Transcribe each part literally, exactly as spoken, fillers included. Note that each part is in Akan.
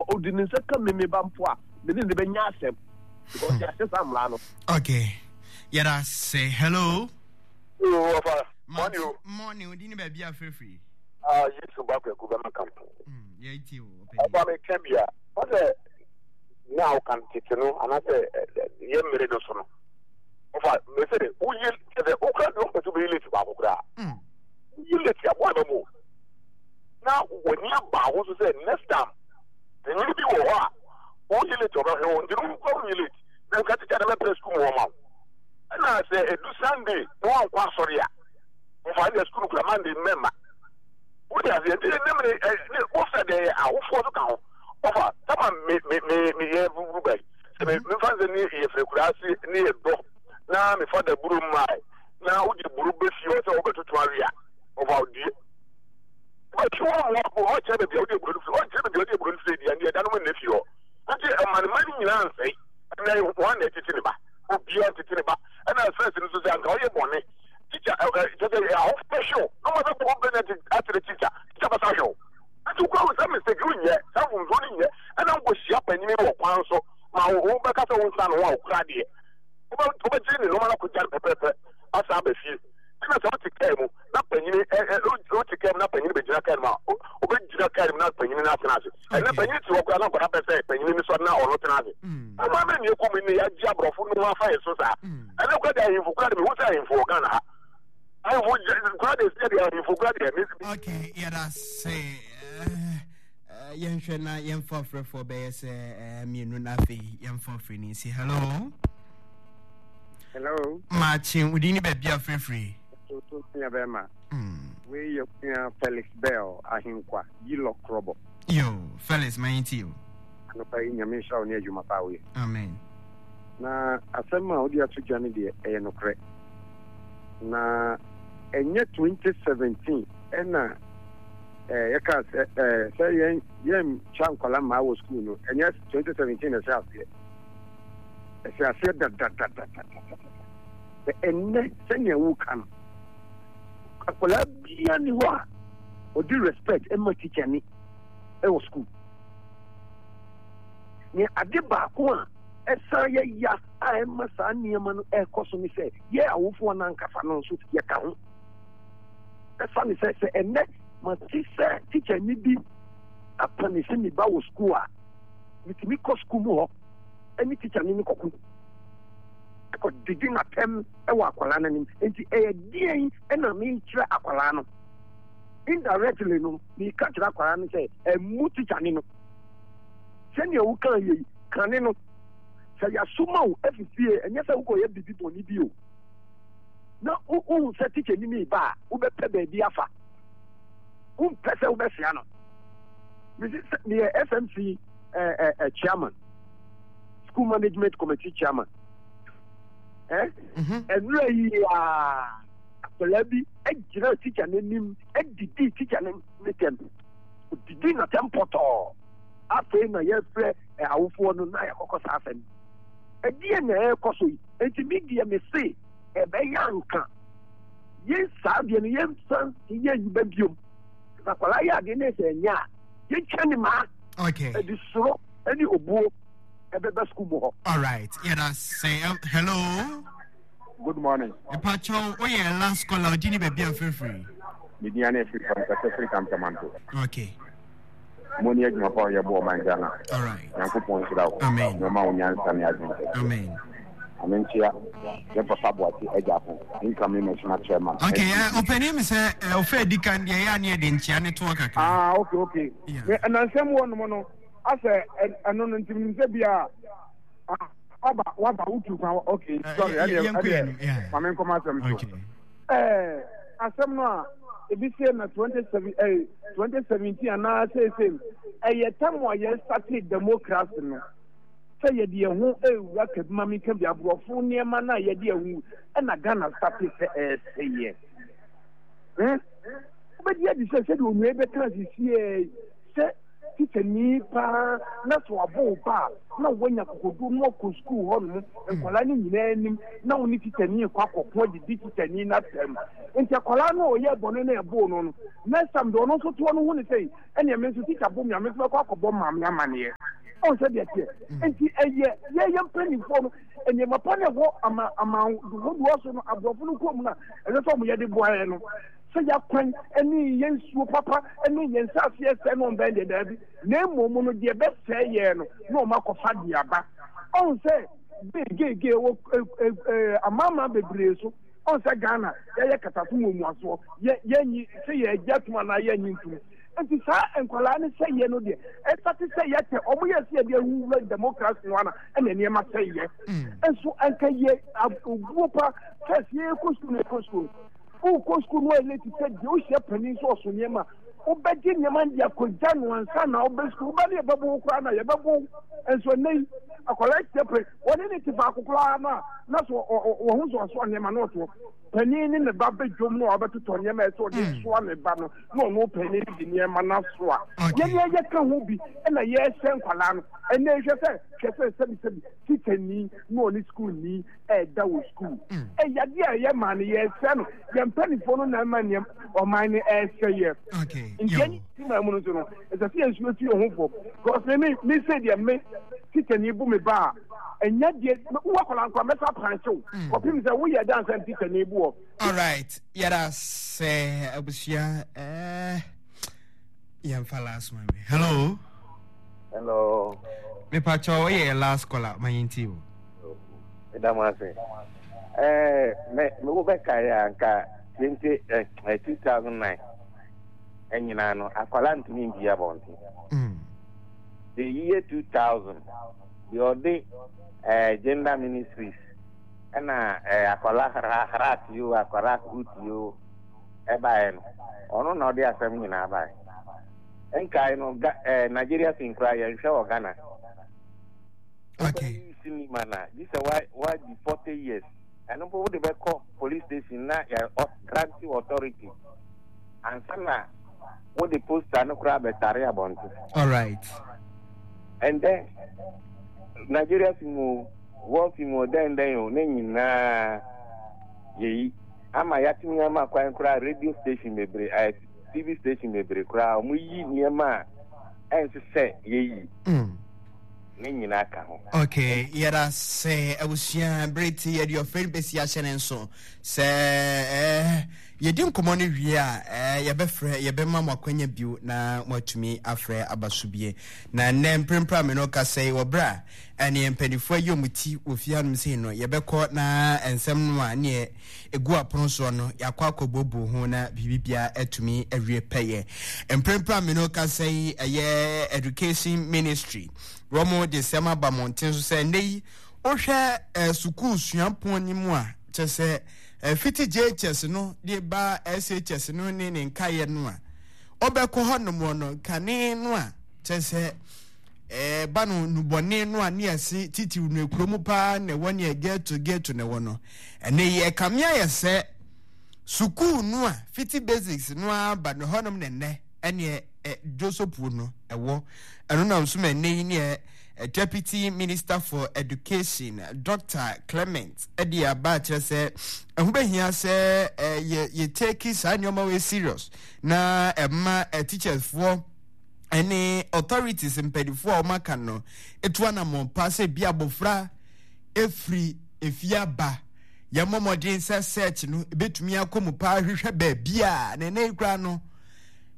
Ɔde ne nsa ka me me ba mpo a, me ne ne bɛnya asɛm because yɛahyɛ saa mmara no. Okay, yɛda sɛ hello. Wɔfa mɔne o. Mɔne o di ne baabi a firifiri. Ah, Yesu ba kwaku bɛma kampo. Yɛti o. Ɔba mi ka bi a, ɔsɛ na ɔka tete no anaasɛ yɛ mmere no so no. Ɔfa mese woyi sɛ wokura deɛ ɔmpɛ sɛ wobɛyi late baako koraa. Woyi late aboa ba mu. Na w'ani aba ho so sɛ next time panyin bi wɔ hɔ a woyi late ɔbɛhwɛ wo nti no wokura wonyi late na nka tikya no bɛpɛ sukuu mu hɔ ma wo. Ɛna sɛ ɛdu Sunday na wankɔ asɔre a ɔfa ne sukuu no kura Monday mmɛmma. Wode aseɛ nti ne mene ne wofɛ deɛ awofoɔ so ka ho ɔfa tama me me me meyɛ buburu bai sɛ me mefa sɛ ne yɛfrɛ kura ase ne yɛ dɔ na mefa da buro mmae na wode buro bɛfie hɔ sɛ wobɛtoto awe a ɔfa odie bɛtwe wɔ mmoa ɔkyerɛ baabi a wode aburo no firi ɔnkyerɛ baabi a wode aburo no firi deɛ ne ɛda no mu nna fie hɔ nti ɛma ne ma no nyinaa nsɛe. Ɛnɛ wɔn na ɛtete ne ba, obiara ntete ne ba. Ɛna fɛs no so sɛ anka ɔyɛ bɔne tikya ɛ ɛ kyɛ sɛ ahofo bɛhwɛ wo na wɔn abɛbɔ bɛnya akyerɛ tikya, tikya bɛsa hwɛ wo. Nti wokura wo sɛ mistake wonyɛ saa mfomsoɔ no nyɛ ɛna nkɔhyia panyini wɔ kwan so ma wo bɛka sɛ wo nsa no ho a wokura deɛ wobɛgye ne nneɛma no akɔgya no pɛpɛpɛ asa aba fie. Ɛna sɛ wote kaa mu na panyini ɛ ɛ wote kaa mu na panyini bɛgyina kaa no mu a wobɛgyina kaa no mu na panyini no atena ase. Ɛnɛ panyini te hɔ koraa na nkwadaa pɛ sɛ panyini no sɔre na ɔno tena ase. Ɔma mɛ nea ɛkɔ mu ne yɛagye aborɔfo no ho afa yɛ so saa. Ɛnɛ koraa deɛ ahemfo koraa deɛ mehu sɛ ahemfo wɔ Ghana ha. Ahemfo koraa deɛ sɛ deɛ ahemfo koraa deɛ. Okay, yɛda se yɛnhwɛ na yɛmfa ɔfrɛfoɔ bɛyɛ sɛ mmienu na afei yɛmfa ɔfrɛ no nsi. Hello. Hello. Maakye, wodin ne baabi a frɛfrɛ? Toto nua bɛrima. Wei yɛ onua Felix Bell Ahenkwa Yilɔ Krɔbɔ. Yo, Felix, ma yɛntie o. Anɔpa yi, Nyame nhyira wo ne adwuma pa a woyɛ. Amen. Na asɛm a wode ato dwa no deɛ, ɛyɛ nokorɛ. Na ɛnyɛ twenty seventeen ɛna eh, yɛkaa sɛ eh, sɛ yɛn yɛntwa nkwadaa mmaa wɔ sukuu no, ɛnyɛ twenty seventeen na ɛhyɛ aseɛ. Ɛhyɛ aseɛ dadadadadadada. Sɛ ɛnnɛ sɛnea woka no, akwadaa biara ni hɔ a ɔde respect ma teacher ni wɔ sukuu. Nea ade baako a ɛsan yɛ ya a ɛma saa nneɛma no ɛrekɔ so ne sɛ yɛ awofoɔ no ankasa no nso yɛka ho. Ɛsane sɛ sɛ ɛnnɛ mate sɛ teacher ni bi apanisi me ba wɔ sukuu a, metumi kɔ sukuu mu hɔ ne teacher ni no kɔko kɔdidi n'atɛm wɔ akwadaa no anim. Nti ɛyɛ deɛn na mekyerɛ akwadaa no? Indirectly no, meka kyerɛ akwadaa no sɛ ɛmmu teacher ni no. Sɛnea wokaa yei, kane no, sɛ yɛasoma wo afi fie, ɛnyɛ sɛ wokɔyɛ biribi bɔne bi o, na wohu sɛ teacher ni no reba a, wobɛpɛ baabi afa. Wompɛ sɛ wobɛsea no. Mese sɛ meyɛ S M C eh, eh, eh, chairman, school management committee chairman. Eh? Ɛnura yi a akwadaa bi gyina teacher n'anim didi teacher no ne tɛm. Odidi n'atɛm pɔtɔɔ. Afei na yɛfrɛ awofoɔ no na yɛkɔkɔ saa asɛm. Ɛdeɛ na ɛrekɔ so yi. Nti me deɛ me se ɛbɛyɛ anka yɛn saa deɛ no yɛnsan yɛ nnwuma biom. Na akwadaa yɛ adeɛ na ɛsɛ ɛnyɛ a yɛntwa ne maa. Okay. Ɛde soro ɛne obuo ɛbɛba sukuu mu hɔ. All right. Yɛda sɛ hello. Good morning. Mepakyɛw, woyɛ last caller, odi ne baabi a mfirifiri. Me din ane afiri fam kasa firi Kamtamanto. Okay. Mo ne adwuma pa a ɔyɛ bɔ ɔman Ghana. All right. Nyankopɔn nhyira wo. Amen. Na ɔma wo nyansa ne adwene kɛseɛ. Amen. Ame nkyea yɛn papa Boakye Agyarko, incoming national chairman. Okay, uh, ɔpanin mi sɛ ɔfɛ edi kan deɛ ɛyɛ aneɛ de nkyea ne toɔ kakra. Ah, okay, okay. Yeah. Me ɛnansɛm wɔ nom no asɛ ɛno no nti menim sɛ bi a waba waba wotu kwan, okay, sorry, ɛdeɛ ɛdeɛ ma me nkɔm asɛm so. Ɛɛ asɛm no a ebi sie na twenty seven ɛɛ twenty seventeen anaa seesei ɛyɛ tam a yɛn starte democracy no sɛ yɛde yɛn ho ewura kabi ma mi kabi aborɔfo nneɛma no a yɛde yɛn ho ɛna Ghana starte sɛ ɛɛsɛ yɛ hmm wobɛgye adi sɛ sɛdeɛ onua yi bɛka sisiɛ sɛ tikyani paa na sɛ wabɔ wo ba a na woanya kokoduo na wakɔ sukuu hɔ nom nkwadaa no nyinaa anim na wo ne tikyani kɔ akɔko adidi tikyani no atɛm. Nti akwadaa no a ɔyɛ bɔne na ɛboo no no, next time deɛ ɔno nso toɔ no hu ne sɛ ɛneɛ me nso tikya bo me a, me nso mɛkɔ akɔbɔ maame amaneɛ. Ɔn sɛ deɛ teɛ nti ɛyɛ yɛyɛ mpanimfoɔ no nneɛma pa na ɛwɔ ama ama hodoɔ so no, aborɔfo no kurom no a ɛsɛ sɛ ɔmo yɛde boa yɛn no, sɛ yɛakwan ne yɛn nsuo papa ne yɛn nsaase ɛsɛ no, ɔmbɛn deɛ daabi, na mmom no deɛ ɛbɛsɛe yɛn no na ɔmo akɔfa de aba. Ɔn sɛ geegee wɔ amanaman bebree so. Ɔn sɛ Ghana yɛyɛ kataso muamuasoɔ, yɛ yɛnyi sɛ yɛagye atum anaa yɛnyi ntum. Nti saa nkwadaa no sɛ yɛ no deɛ ɛsate sɛ yɛtɛ ɔmo yɛ sɛ yɛde ahuwura democracy no ana ɛna nneɛma sɛ yɛ nso nka yɛ obuo pa. First yɛkɔ sukuu no, yɛkɔ sukuu no, wokɔ sukuu no ayɛ late sɛ deɛ wohyia panin nso ɔso nneɛma, wobɛgye nneɛma de akɔgya no ansa na wobɛ sukuu. Wobɛ ne yɛbɛbo wo koraa na yɛbɛbo wo. Nso ɛnɛ yi akwadaa hyia pɛ wɔne ne te faako koraa no a na so wɔn ho so ɔso nneɛma na ɔtoɔ panin ne ne ba bɛdwom na wabɛtotɔ nneɛma ɛsɛ ɔde soa ne ba no, na ɔno panin de nneɛma no asoa. Yɛn yɛ yɛka ho bi ɛna yɛhyɛ nkwadaa no ɛnɛ. Hwɛ sɛ hwɛ sɛ sɛbisɛbi tikyani na ɔne sukuuni ɛɛda wɔ sukuu, ɛyɛ adeɛ a ɛyɛ maa no yɛsɛ no. Yɛn mpanimfoɔ no na ɛma nneɛma ɔman no ɛsɛ yɛ. Nti ɛni ti maa mu no nso no, ɛsɛ sɛ yɛn nso yɛtu yɛn ho fo, because me me me sɛ deɛ me tikyani bu me ba a, ɛnyɛ deɛ wo akwadaa nkwa mɛsa apankyew kɔpem sɛ woyɛ dansa tikyani bu wɔ. Alright, yɛda sɛ abusua ɛɛ yɛmfa last one. Hello. Hello. Mepakyɛ, woyɛ last caller, ma yɛntie o. Meda mo ase. Ɛɛ me me wo bɛkae a, nka twenty ɛɛ two thousand nine ɛnyinaa no, akwalaa ntumi mpie abɔnten. The year two thousand deɛ, ɔde ɛɛ gender ministries ɛna ɛɛ akwalaa hrat yi o, akwalaa hoot yi o, ɛbaeɛ no, ɔno na ɔde asɛm nyinaa baeɛ. Nkae no ga ɛɛ Nigeria film koraa yɛnhwɛ wɔ Ghana. Okay. Cinema na gye sɛ wa wadi forty years, ɛno mpo wode bɛkɔ police station na yɛ grant authority ansa na wode poster no koraa bɛtare abɔnten. Alright. And then Nigeria film o, war film o, dɛn dɛn o, ne nyinaa yɛyi ama yɛatumi ama kwan koraa. Radio station bebree, ɛɛ T V station bebree koraa, wɔn yi nneɛma a ɛnsɛ sɛ yɛyi ne nyinaa ka ho. Okay, yɛda sɛ abusua bere ti yɛde ɔfrɛ no bɛsi ahyɛ ne nso sɛ eh, yɛdi nkɔmmɔ no wie a, eh, yɛbɛfrɛ, yɛbɛma mo akwanya bio na moatumi afrɛ aba so bie. Na nnɛ mprempren a me no kasa yi, wɔ berɛ a ɛneɛ mpanimfoɔ ayi ɔmo ti wɔ fie hanom sei no, yɛbɛkɔ na nsɛm no a neɛ ɛgu apono soɔ no, yɛakɔ akɔbuobuo ho na biribiara atumi awie pɛyɛ. Mprempren a me no kasa yi, ɛyɛ Education Ministry, wɔn de nsɛm aba mmɔnten so sɛ nnɛ yi wohwɛ eh, sukuu suapɔn no mu a, kyɛ sɛ eh, fiti J H S no de ba S H S no ne ne nkaeɛ no a ɔbɛkɔ hɔ nom no, kane no a kyɛ sɛ eh, ba no nubɔne no a ne yɛse titiriw no ekuro mu paa na ɛwɔ ne ghetto ghetto na ɛwɔ no, ɛnɛ yi ɛkame ayɛ sɛ sukuu no a fiti basics no aba no hɔnom ne nnɛ ɛneɛ ɛ dwosopuo no ɛwɔ. Ɛno nam so ma ɛnɛ yi neɛ Deputy Minister for Education, Doctor Clement, ɛde aba akyerɛ sɛ ɛho bɛhia sɛ yɛ yɛ take saa nneɛma wei serious na ɛma teachers foɔ ɛne authorities mpanimfoɔ a wɔaka no etu anammɔn pa sɛ bi abɔfra efiri efie aba, yɛmmɔ mmɔden sɛ search no ebetumi akɔ mu paa, hwehwɛ baabi a na ɛnɛ yi koraa no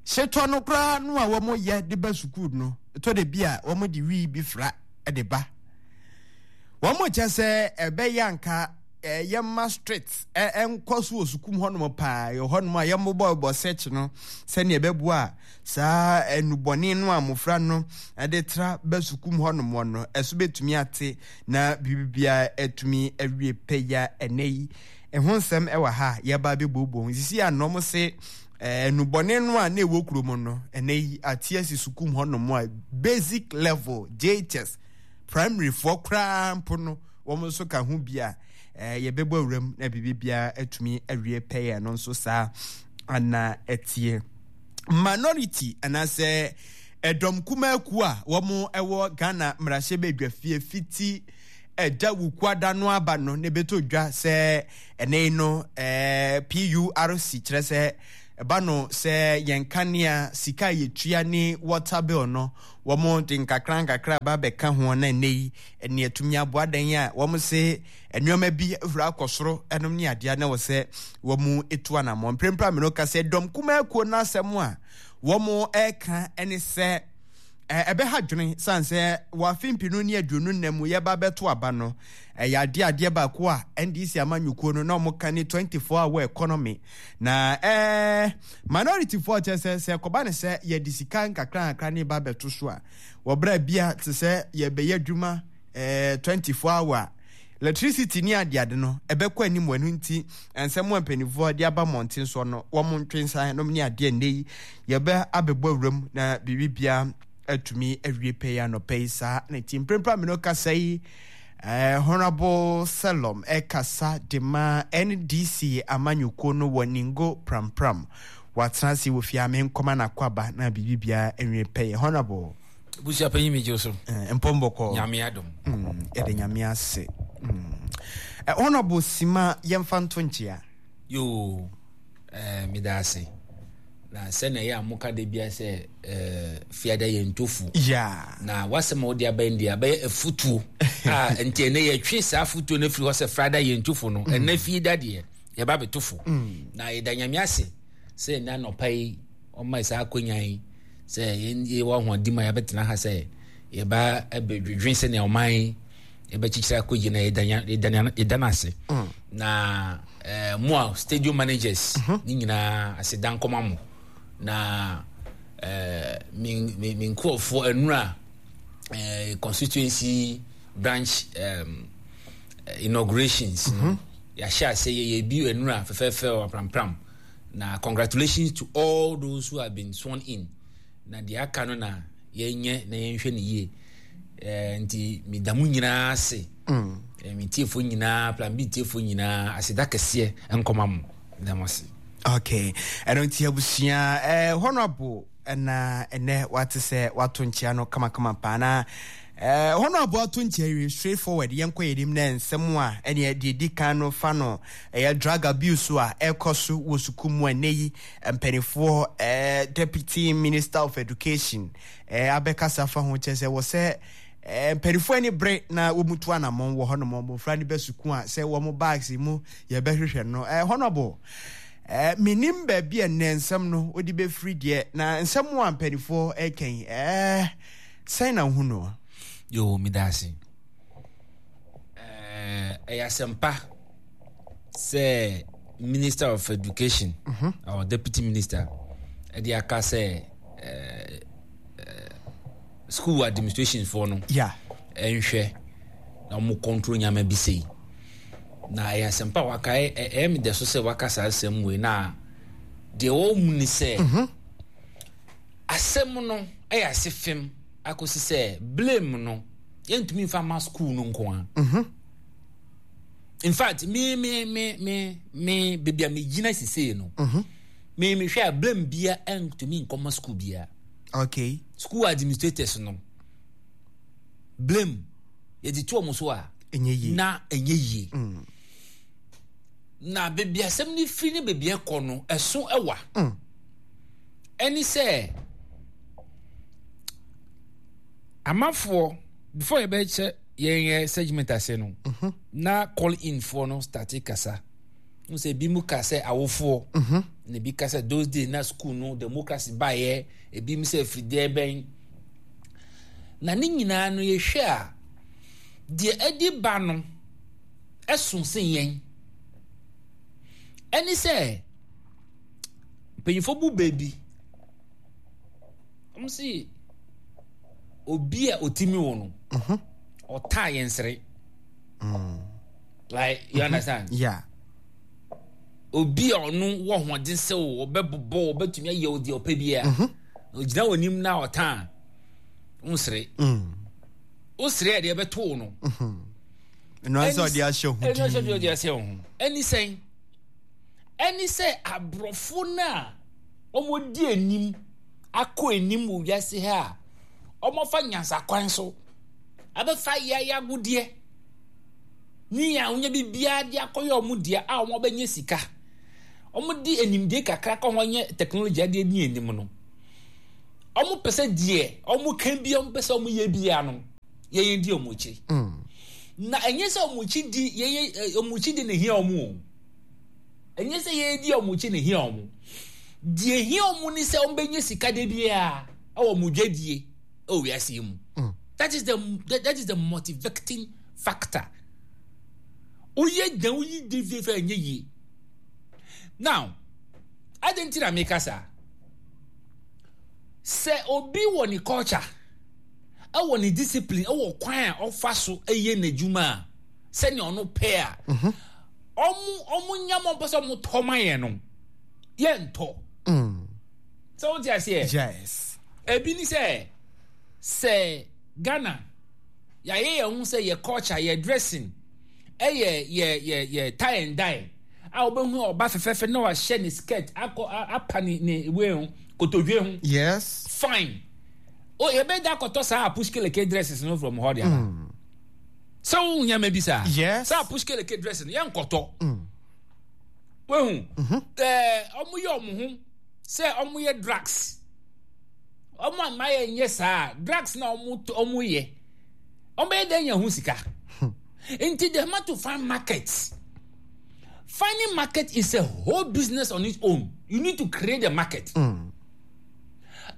hyetɔ no koraa no a wɔyɛ de ba sukuu no, ɛtɔ de bi a wɔn de wii bi fra de ba. Wɔn kyɛ sɛ ɛbɛyɛ anka yɛma strict ɛnkɔ so wɔ sukuu mu hɔnom paa, yɛ hɔnom a yɛmmobɔbɔ search no sɛnea ɛbɛboa a saa nnubɔne no a mmɔfra no de tra ba sukuu mu hɔnom no ɛso bɛtumi ate na biribiara atumi awie pɛya. Ɛnɛ yi ɛho nsɛm ɛwɔ ha a yɛba bɛbuobuo ho sisi a nnɔm se nnubɔne no a na ɛwɔ kurom no, ɛnɛ yi ate asi sukuu mu hɔnom a basic level J H S primary foɔ koraa mpo no, wɔn nso ka ho bi a yɛbɛbɔ awuram na biribiara atumi awie pɛyɛ no nso saa ana ɛteɛ. Minority anaasɛ ɛdɔm kumaku a wɔn ɛwɔ Ghana mmarahyɛbadwafie fiti ɛda Wukuada no aba no ne bɛtɔ dwa sɛ ɛnɛ no ɛɛ P U R C kyerɛ sɛ Ɛba no sɛ yɛn kanea sika a yɛtua ne water bill no, wɔn de nkakra nkakra ba bɛka ho na ɛnɛ yi ɛne atumi aboa dan a wɔn se nneɛma bi ahura akɔ soro ɛnom ne adeɛ na wɔ sɛ wɔn etu anammɔ. Mprempren a mene ka sɛ dɔm kumaa kuo n'asɛm a wɔn ɛka ɛne sɛ ɛbɛha dwene san sɛ wɔ afe mpinu ne aduonu nnan mu yɛba bɛto aba no, ɛyɛ adeɛ adeɛ baako a N D C amanyɔkuo no na wɔn ka ne twenty-four hour economy na ɛɛ minority foɔ kyɛ sɛ sɛ kɔba ne sɛ yɛde sika nkakra nkakra ne ba bɛto so a, wɔbrɛ bia te sɛ yɛbɛyɛ adwuma ɛɛ twenty-four hour, electricity ne adeade no ɛbɛkɔ anim. Wɔ ɛno nti nsɛm a mpanimfoɔ de aba mmɔnten soɔ no, wɔn ntwe nsan nom ne adeɛ. Nnɛ yi yɛbɛ abɛbɔ awuram na biribi atumi awie pɛ yi anɔpɛ yi saa na ti mprempren mi no kasa yi, eh, Honorable Selom ɛkasa de ma N D C amanyɔkuo no wɔ Ningo Prampram. Watena ase wɔ fie a menkɔma n'akɔ aba na biribi biara awie pɛ yɛ. Honorable. Busua panyin, mi gye so. Eh, mpɔmbɔkɔ. Nyame adom. mm, yɛde Nyame ase. mm. eh, honorable Sima, yɛmfa nto nkyea. Yoo, eh, meda ase na sɛnea ɛyɛ a moka da bia sɛ eh, fiada yɛ ntofu yeah. na wasɛm a wode abɛn deɛ abɛyɛ afutuo a, nti ɛnɛ yɛtwe saa afutuo no afiri hɔ sɛ frada yɛ ntofo no, ɛnɛ fie da deɛ yɛba bɛtofo. Na yɛda Nyame ase sɛ ɛnɛ anɔpa yi ɔma saa akonnwa yi sɛ yɛwɔ ahoɔden mu a yɛbɛtena ha sɛ yɛba bɛdwedwen sɛnea ɔman yi yɛbɛkyekyere akɔgye na yɛda no ase. Na eh, mo a stadium managers ne nyinaa, aseda nkɔma mo. Na eh, me me me nkurɔfoɔ anura eh, constituency branch um, inaugurations no, yɛahyɛ ase yɛyɛ bi anura fɛfɛɛfɛ wɔ Prampram. Na congratulations to all those who have been sworn in. Na deɛ aka no na yɛnyɛ na yɛnhwɛ no yie. eh, nti meda mo nyinaa ase mm. eh, me tiefoɔ nyinaa, Plan B tiefoɔ nyinaa, aseda kɛseɛ nkɔma mo. Meda mo ase. Okay, ɛno nti abusua, eh, Honorable ɛna ɛnɛ wate sɛ wato nkyea no kamakama paa na eh, Honorable ato nkyea wie, straight forward yɛnkɔ yɛnim na nsɛm a ɛne deɛ di kan no fa no ɛyɛ drug abuse a ɛkɔ so wɔ sukuu mu. Ɛnɛ yi mpanimfoɔ, eh, Deputy Minister of Education eh, abɛkasa fa ho kyerɛ sɛ wɔ sɛ eh, mpanimfoɔ ani bere na wɔn tu anammɔn wɔ hɔnom. Mmɔfra no bɛ sukuu a, sɛ wɔn bags mu yɛbɛhwehwɛ no. eh, honorable eh, menim baabi a nnɛ nsɛm no wode bɛfiri deɛ, na nsɛm a mpanimfoɔ ɛkɛn eh, sɛn na wohu no? Yo, meda ase. Ɛyɛ asɛmpa sɛ Minister of Education mm -hmm. or Deputy Minister ɛde aka sɛ eh, eh, school administration foɔ no yeah. ɛnhwɛ na wɔn control nyama bi sei. Na ɛyɛ asɛmpa waka. Ɛyɛ me dɛ so sɛ waka saa asɛm wei, na deɛ wɔn mu ni sɛ mm -hmm. asɛm no ɛyɛ ase fam akɔsi sɛ blame no yɛntumi nfa ma school no nko ara. Mm -hmm. In fact, me me me me me beebi a me gyina sisei no, mm -hmm. me me hwɛ a, blame bia ɛntumi nkɔma school bia. Okay school administrators no, blame yɛde to wɔn so a ɛnyɛ yie. Na ɛnyɛ yie. Mm. Na beebi asɛm no firi ne beebi ɛkɔ no, ɛso ɛwa. Mm. Ɛne sɛ amanfoɔ, before yɛbɛkyɛ yɛn yɛ segment ase no, mm -hmm. na call in foɔ no start kasa n sɛ ebi mu ka sɛ awofoɔ mm -hmm. na ebi ka sɛ those days na school no democracy baayɛ, ebi mu sɛ firideɛ bɛn na ne nyinaa no. Yɛhwɛ a, deɛ ɛde ba no ɛso sen yɛn. Ɛne sɛ mpanyinfoɔ bu beebi, wɔn si obi a otimi wɔ no, ɔtaa yɛn sere. Like, you understand? Yeah. Obi a ɔno wɔ ahoɔden sɛ o ɔbɛbobɔ, ɔbɛtumi ayɛ o deɛ ɔpɛ biara, na ogyina wɔ anim na ɔtaa nsere, wosere a, deɛ ɛbɛto no. Ɛno sɛ ɔde ahyɛ ho. Ɛno sɛ ɔde ahyɛ ho. Ɛne sɛn? Ɛne sɛ aborɔfo no a wɔdi anim akɔ anim wɔ wiase ha a wɔafa nyansakwan so abɛfa yɛayɛ agodeɛ ne yɛn ahonya biribiara de akɔyɛ wɔn deɛ a wɔn abɛnya sika. Ɔmo di enimdie kakra kɔ ho nyɛ technology adeɛ ni anim no. Ɔmo pɛ sɛ deɛ ɔmo ka bi, ɔmo pɛ sɛ ɔmo yɛ bia no, yɛyɛ di ɔmo akyi. Na ɛnyɛ sɛ ɔmo akyi di yɛyɛ ɔmo akyi di na ehia ɔmo o. Ɛnyɛ sɛ yɛyɛ di ɔmo akyi na ehia ɔmo. Deɛ ehia ɔmo ni sɛ ɔmo bɛnya sika de biara ɛwɔ ɔmo dwadie ɛwɔ wiase yi mu. That is the that is the motivating factor. Woyɛ dan woyi di fie fɛ ɛnyɛ yie. Now, adi nti na meka saa. Sɛ obi wɔ ne culture, ɛwɔ ne discipline, ɛwɔ kwan a ɔfa so ɛyɛ n'adwuma a, sɛnea ɔno pɛ a, ɔmo ɔmo nyama ɔmo pɛ sɛ ɔmo tɔ ma yɛn no, yɛntɔ. Sɛ wote aseɛ? Yes. Ebi ni sɛ, sɛ Ghana yɛayɛ yɛn ho sɛ yɛ culture, yɛ dressing, ɛyɛ yɛ yɛ yɛ tie and dye a wobɛhu ɔba fɛfɛɛfɛ na wahyɛ ne skirt akɔ apa ne ne wei ho kotodwe ho. Yes. Fine. O yɛbɛda akɔtɔ saa apushkeleke dresses no from hɔ de aba. Sɛ wo nyɛma bi saa. Yes. Saa apushkeleke dress no yɛnkɔtɔ. Wehu. Ɛɛ ɔmo yɛ ɔmo ho sɛ ɔmo yɛ drugs. Ɔmo ama yɛ nyɛ saa drugs na ɔmo ɔmo yɛ. Ɔmo bɛyɛ dɛ nya ho sika. Nti they have to find markets. Finding market is a whole business on its own. You need to create a market. Mm.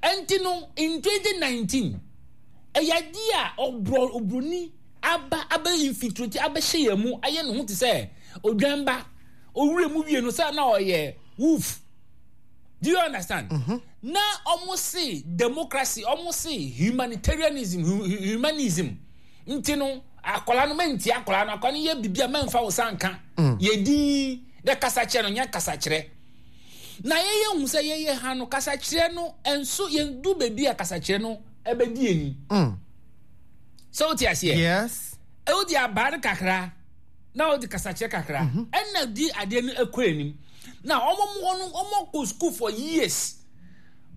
Nti no, in twenty nineteen, ɛyɛ adeɛ a ɔbrɔ obroni aba abɛ infiltrate abɛhyɛ yɛn mu ayɛ ne ho te sɛ odwan ba owura mu wie no sɛ na ɔyɛ wolf. Do you understand? Mm-hmm. Na ɔmo se democracy, ɔmo se humanitarianism, humanism. Nti no, akwadaa no mɛnti akwadaa no, akwadaa no yɛ bibi a mɛnfa wo sa nka. Yɛ din dɛ kasakyerɛ no nyɛ kasakyerɛ. Na yɛyɛ hu sɛ yɛyɛ ha no kasakyerɛ no nso yɛn du beebi a kasakyerɛ no ɛbɛdi ani. Sɛ wote aseɛ? Yes. Ɛwɔ di abaa no kakra na wɔde kasakyerɛ kakra ɛna di adeɛ no ɛkɔ anim. Na wɔn mo no wɔn kɔ school for years.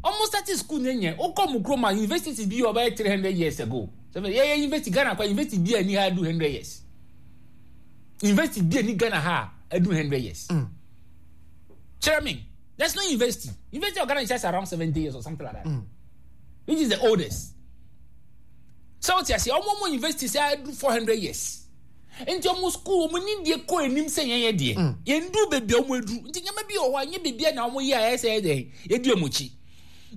Wɔn start school ne nyɛ wokɔ mu kurom a university bi ɔbɛyɛ three hundred years ago. Sɛ yɛyɛ university Ghana kɔ university bi a ni ha do hundred years. University bi a ni Ghana ha adu hundred years. Mm. Kyerɛ me, there's no university. University of Ghana is just around seventy years or something like that. Mm. Which is the oldest. So what you say, ɔmo mo university sɛ adu four hundred years. Nti ɔmo school ɔmo ni deɛ kɔ anim sɛ yɛn yɛ deɛ. Yɛn du beebi a ɔmo aduru. Nti nyɛma bi wɔ hɔ a nyɛ beebi a na ɔmo yɛ a ɛyɛ sɛ yɛ deɛ yɛdi ɔmo akyi.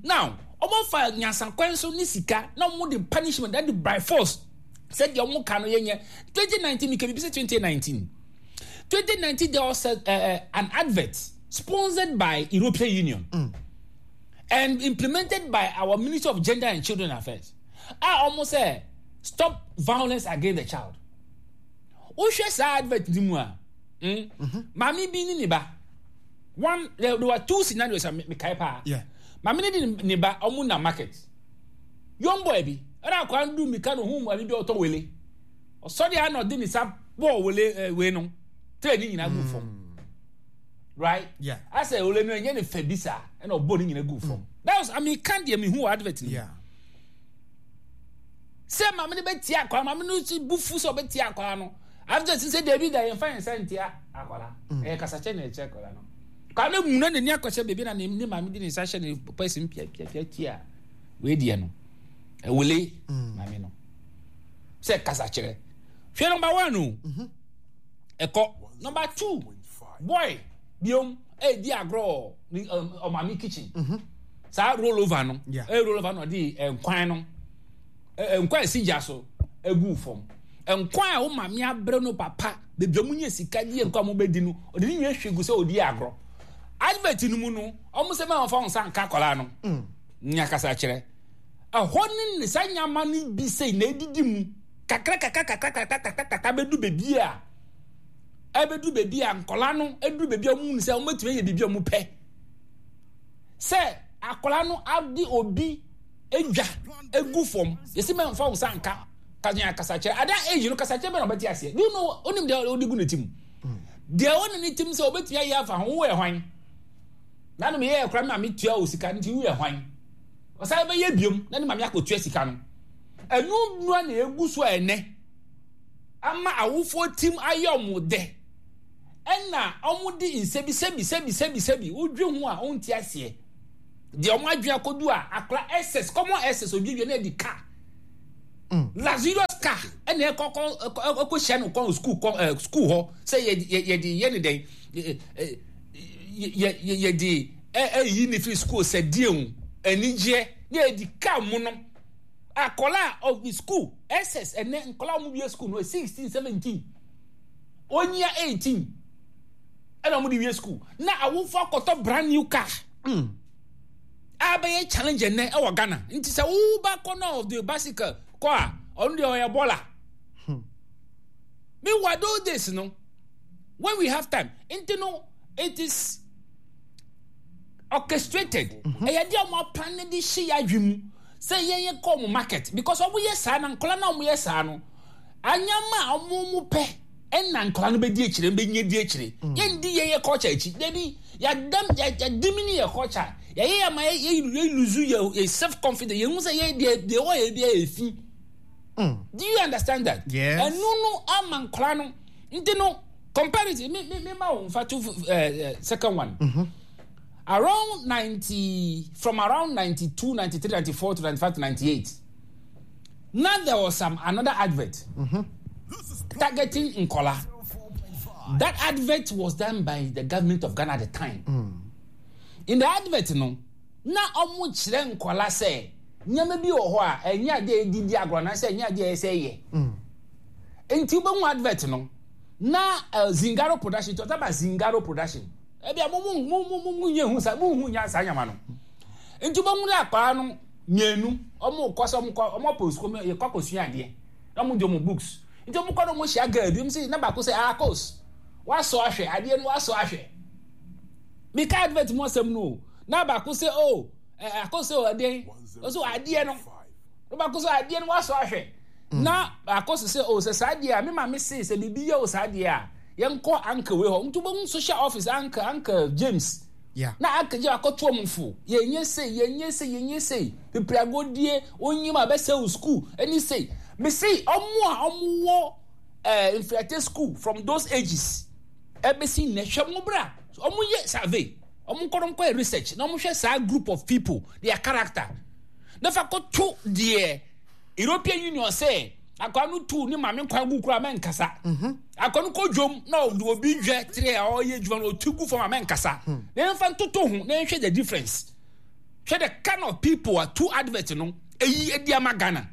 Now, ɔmo fa nyansakwan so ne sika na ɔmo de punishment that by force. Sɛ deɛ ɔmo ka no yɛ nyɛ. twenty nineteen mi kɛ bibi sɛ twenty nineteen. twenty nineteen there was a, uh, an advert sponsored by European Union mm. and implemented by our Ministry of Gender and Children Affairs. I almost say stop violence against the child. Wohwɛ saa advert ni mu a, maame bi ni ne ba. One there, there were two scenarios a mekae paa. Maame ne de ne ba ɔmo na market. Young boy bi ɛna akwadaa no du mika no hu maame bi a ɔtɔ wele. Ɔsɔre a na ɔde ne nsa bɔɔ wele ɛɛ wei no tray ne nyinaa gu fam. Right? Yeah. Asɛ wele no ɛnyɛ ne fɛ bi saa ɛna ɔbɔ ne nyinaa gu fam. That was I mean kan deɛ mi hu wɔ advert ni. Yeah. Sɛ maame no bɛ tia akwadaa maame no si bu fu sɛ ɔbɛ tia akwadaa no. Advert sɛ deebi da yɛn fa yɛn nsa ntia akwadaa. Ɛyɛ kasakyɛ na ɛkyɛ akwadaa no. Akwadaa no muna n'ani akɔhyɛ beebi na ne ne maame de ne nsa hyɛ ne pɛsi mu pia pia pia tia wei deɛ no. Ɛwele maame no. Sɛ kasakyerɛ. Hwɛ number one o. Ɛkɔ number two boy biom ɛdi agorɔ ɔmaame kitchen. Saa roll over no. Ɛyɛ roll over no ɔde nkwan no. Nkwan esi gya so egu fam. Nkwan a wo maame abrɛ no papa beebi a ɔmo nya sika di nkwan a ɔmo bɛdi no ɔde ne nyinaa hwie gu sɛ ɔdi agorɔ. Advert no mu no ɔmo sɛ mɛma fa wɔn nsa nka akwadaa no. Nya kasakyerɛ. Ɛhɔ ne ne saa nyama no bi sei na edidi mu kakra kakra kakra kakra kakra kakra bɛdu beebi a ɛbɛdu beebi a nkɔla no ɛdu beebi a wɔn mu sɛ wɔn bɛtumi ayɛ biribi a wɔn pɛ sɛ akɔla no ade obi edwa egu fam yɛsi mɛ nfa nsa nka kanya kasakyerɛ ada age no kasakyerɛ bɛ na ɔbɛte aseɛ do you know onim deɛ ɔde gu ne ti mu deɛ ɔne ne ti mu sɛ ɔbɛtumi ayɛ afa ho woyɛ hwan na no meyɛ ɛkora maame tua o sika nti woyɛ hwan ɔsan bɛyɛ biom na ne maame akɔtua sika no ɛnu nua na egu so a ɛnɛ ama awofoɔ tim ayɛ ɔmo dɛ Ɛna ɔmo de nsɛbi sɛbi sɛbi sɛbi sɛbi wodwe ho a ɔnti aseɛ deɛ ɔmo adwe akɔdu a akora S S common S S odwidwe na ɛdi car, luxurious car, ɛna ɛkɔ kɔ ɛkɔ hyia no kɔn school kɔ ɛɛ school hɔ sɛ yɛ yɛ yɛde yɛ ne dɛn yɛ yɛ yɛ yɛde ɛ ɛyi ne firi school sɛ die ho anigyeɛ ne yɛde car mu no. Akɔla of the school S S, ɛnɛ nkɔla a wɔn wie school no sixteen, seventeen, onyia eighteen ɛna wɔn de wie school na awofo akɔtɔ brand new car mm. a bɛyɛ challenge ɛnɛ ɛwɔ Ghana. Nti sɛ woba kɔ na of the bicycle kɔ a, ɔno deɛ ɔyɛ bɔla. Meanwhile, those days no, when we have time, nti no it is orchestrated. Ɛyɛ deɛ ɔmo apan ne de hyɛ yɛ adwi mu sɛ yɛn yɛ kɔ ɔmo market because ɔmo yɛ saa na nkɔla na ɔmo yɛ saa no anyama a ɔmo mo pɛ ɛna nkɔla no bɛdi akyire, bɛnyɛ di akyire. Yɛn di yɛn yɛ culture akyi dabi, yɛdam yɛdimini yɛ culture, yɛyɛ yɛ ma yɛ yɛ lose yɛ yɛ self confidence, yɛn ho sɛ yɛ deɛ deɛ ɛwɔ yɛ bi yɛ fi. Do you understand that? Yes. Ɛno no ama nkɔla no nti no comparative mi mi mi ma wo nfa to ɛɛ second one. Mm -hmm. Around ninety, from around ninety-two, ninety-three, ninety-four to ninety-five to ninety-eight, now there was some another advert mm-hmm. targeting Nkola. That advert was done by the government of Ghana at the time. mm. In the advert no, na ɔmo kyerɛ nkɔla sɛ nneɛma bi wɔ hɔ a ɛnyɛ adeɛ a yɛdi di agorɔ anaasɛ ɛnyɛ adeɛ a ɛsɛ yɛ. Nti wobɛhu advert no na uh, Zingaro Production, talk about Zingaro Production. Ebi a mo mo mo mo mo nye hu sa mo hu nya saa nyama no. Nti wobɛhu dɛ akwaraa no mmienu ɔmo kɔ sɛ ɔmo kɔ ɔmo apɔ sukuu, ɔmo yɛ kɔ akɔsua adeɛ na ɔmo de ɔmo books. Nti ɔmo kɔ na ɔmo hyia girl bi, ɔmo sɛ na baako sɛ, "Akos wasɔ ahwɛ adeɛ no, wasɔ ahwɛ." Mika advert mu asɛm no o, na baako sɛ, "O ɛ akos sɛ ɔden ɔsɛ adeɛ no," na baako sɛ, "Adeɛ no wasɔ ahwɛ," na baako sɛ sɛ o sɛ saa adeɛ a me maame se sɛ biribi yɛ o saa adeɛ a yɛnkɔ uncle wei hɔ. Nti wobɛhu social office uncle uncle James. Yeah. Na uncle James akɔto ɔmo fo, yɛnyɛ sei, yɛnyɛ sei, yɛnyɛ sei, pepere agodie onyim a bɛsɛ wo school ɛne sei. Mesi ɔmo a ɔmo wɔ ɛɛ mfiriate school from those ages ɛbɛsi nnɛ, hwɛ mo bra ɔmo yɛ survey, ɔmo nkɔ nkɔ yɛ research na ɔmo hwɛ saa group of people, their character, na fa kɔto deɛ European Union sɛ akwa no tu ne maame kwan gu kura mɛnkasa, akwa no kɔ dwom na ɔde obi dwɛ tere a ɔyɛ adwuma no ɔtu gu fam a mɛnkasa, na yɛmfa ntoto ho na yɛnhwɛ the difference. Hwɛ the kind of people a two advert no eyi edi ama Ghana.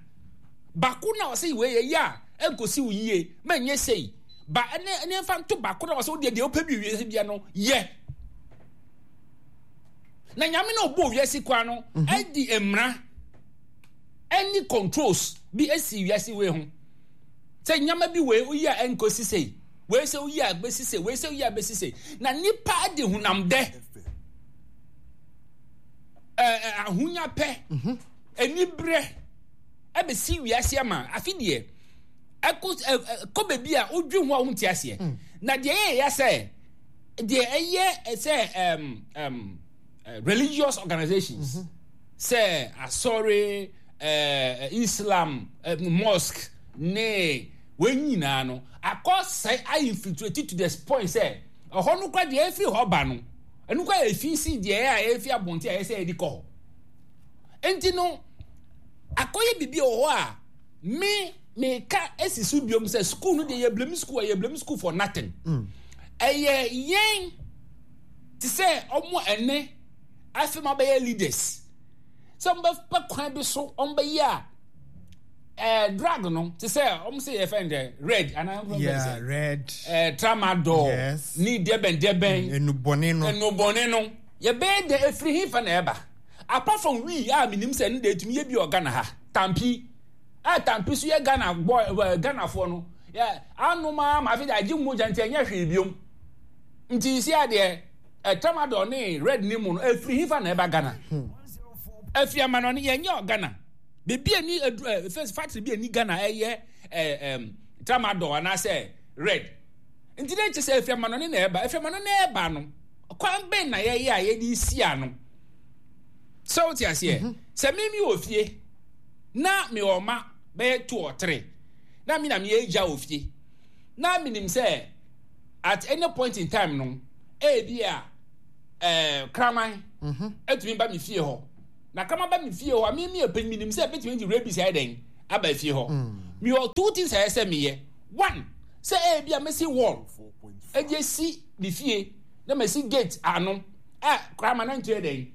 Baako na ɔsɛ wei yɛ yɛ a ɛnkosi wo yie mɛnyɛ sei ba, ɛne ɛne yɛmfa nto baako na ɔsɛ wodeɛ deɛ wopɛ bi wiase bia no yɛ na Nyame na ɔbɔ wiase kwa no ɛdi mmara ɛne controls bi esi wiase wei ho sɛ nyama bi wei oyi a ɛnkosi sei, wei sɛ oyi a bɛsi sei, wei sɛ oyi a bɛsi sei, na nipa de honam dɛ ɛɛ ahonya pɛ anibrɛ ɛbɛsi wiase ama afi deɛ ɛkɔ ɛkɔ baabi a odwi ho a wonte aseɛ. Na deɛ ɛyɛ ya sɛ deɛ ɛyɛ sɛ ɛm ɛm religious organizations sɛ asɔre, ɛɛ Islam, ɛɛ mosque ne wɔn nyinaa no akɔ sɛ infiltrate to the point sɛ ɛhɔ no kora deɛ ɛfiri hɔ ba no, ɛno kora efi si deɛ ɛyɛ a ɛfi abɔnten a ɛyɛ sɛ ɛde kɔ hɔ. Nti no akɔyɛ biribi wɔ hɔ a me meka esi so biom sɛ school no deɛ, yɛ blame school a yɛ blame school for nothing. Ɛyɛ yɛn te sɛ ɔmo ɛnɛ afei ma bɛyɛ leaders sɛ ɔmo bɛpɛ kwan bi so ɔmo bɛyɛ a ɛɛ drug no te sɛ ɔmo sɛ yɛ fɛn dɛ red anaa ɔmo fɛn Yeah, red. ɛɛ tramadol. Yes. Ni dɛbɛn dɛbɛn. Enubɔne no. Enubɔne no yɛbɛyɛ dɛ efiri hin fa na ɛba apart from wee a minim sɛ ɛno de etumi yɛ bi wɔ Ghana ha, tampi a tampi so yɛ Ghana bɔ ɛɛ Ghanafoɔ no yɛ anom a ma afi de agye mogya nti ɛnyɛ hwee biom. Nti si adeɛ ɛ tramadol ne red ne mu no efiri hin fa na ɛba Ghana? Efiri amanɔne. Yɛnyɛ wɔ Ghana beebi ani edu ɛ first factory bi ani Ghana ɛyɛ ɛ ɛm tramadol anaasɛ red. Nti ne kyɛ sɛ efiri amanɔne na ɛba. Efiri amanɔne na ɛba no, kwan bɛn na yɛyɛ a yɛde si ano sɛ wote aseɛ sɛ mimi wɔ fie na mewɔ ɔma bɛyɛ two or three na mi na meyɛ agya wɔ fie na menim sɛ At any point in time no, ebi a ɛɛ kraman etumi ba mi fie hɔ. Na kraman ba mi fie hɔ a, mi mi yɛ panyin, mi nim sɛ ebetumi de rabies ayɛ dɛn aba fie hɔ. Mi wɔ two things a ɛsɛ sɛ mi yɛ. One, sɛ ebi a mesi wall ɛde esi mi fie na mesi gate ano a kraman na ntu yɛ dɛn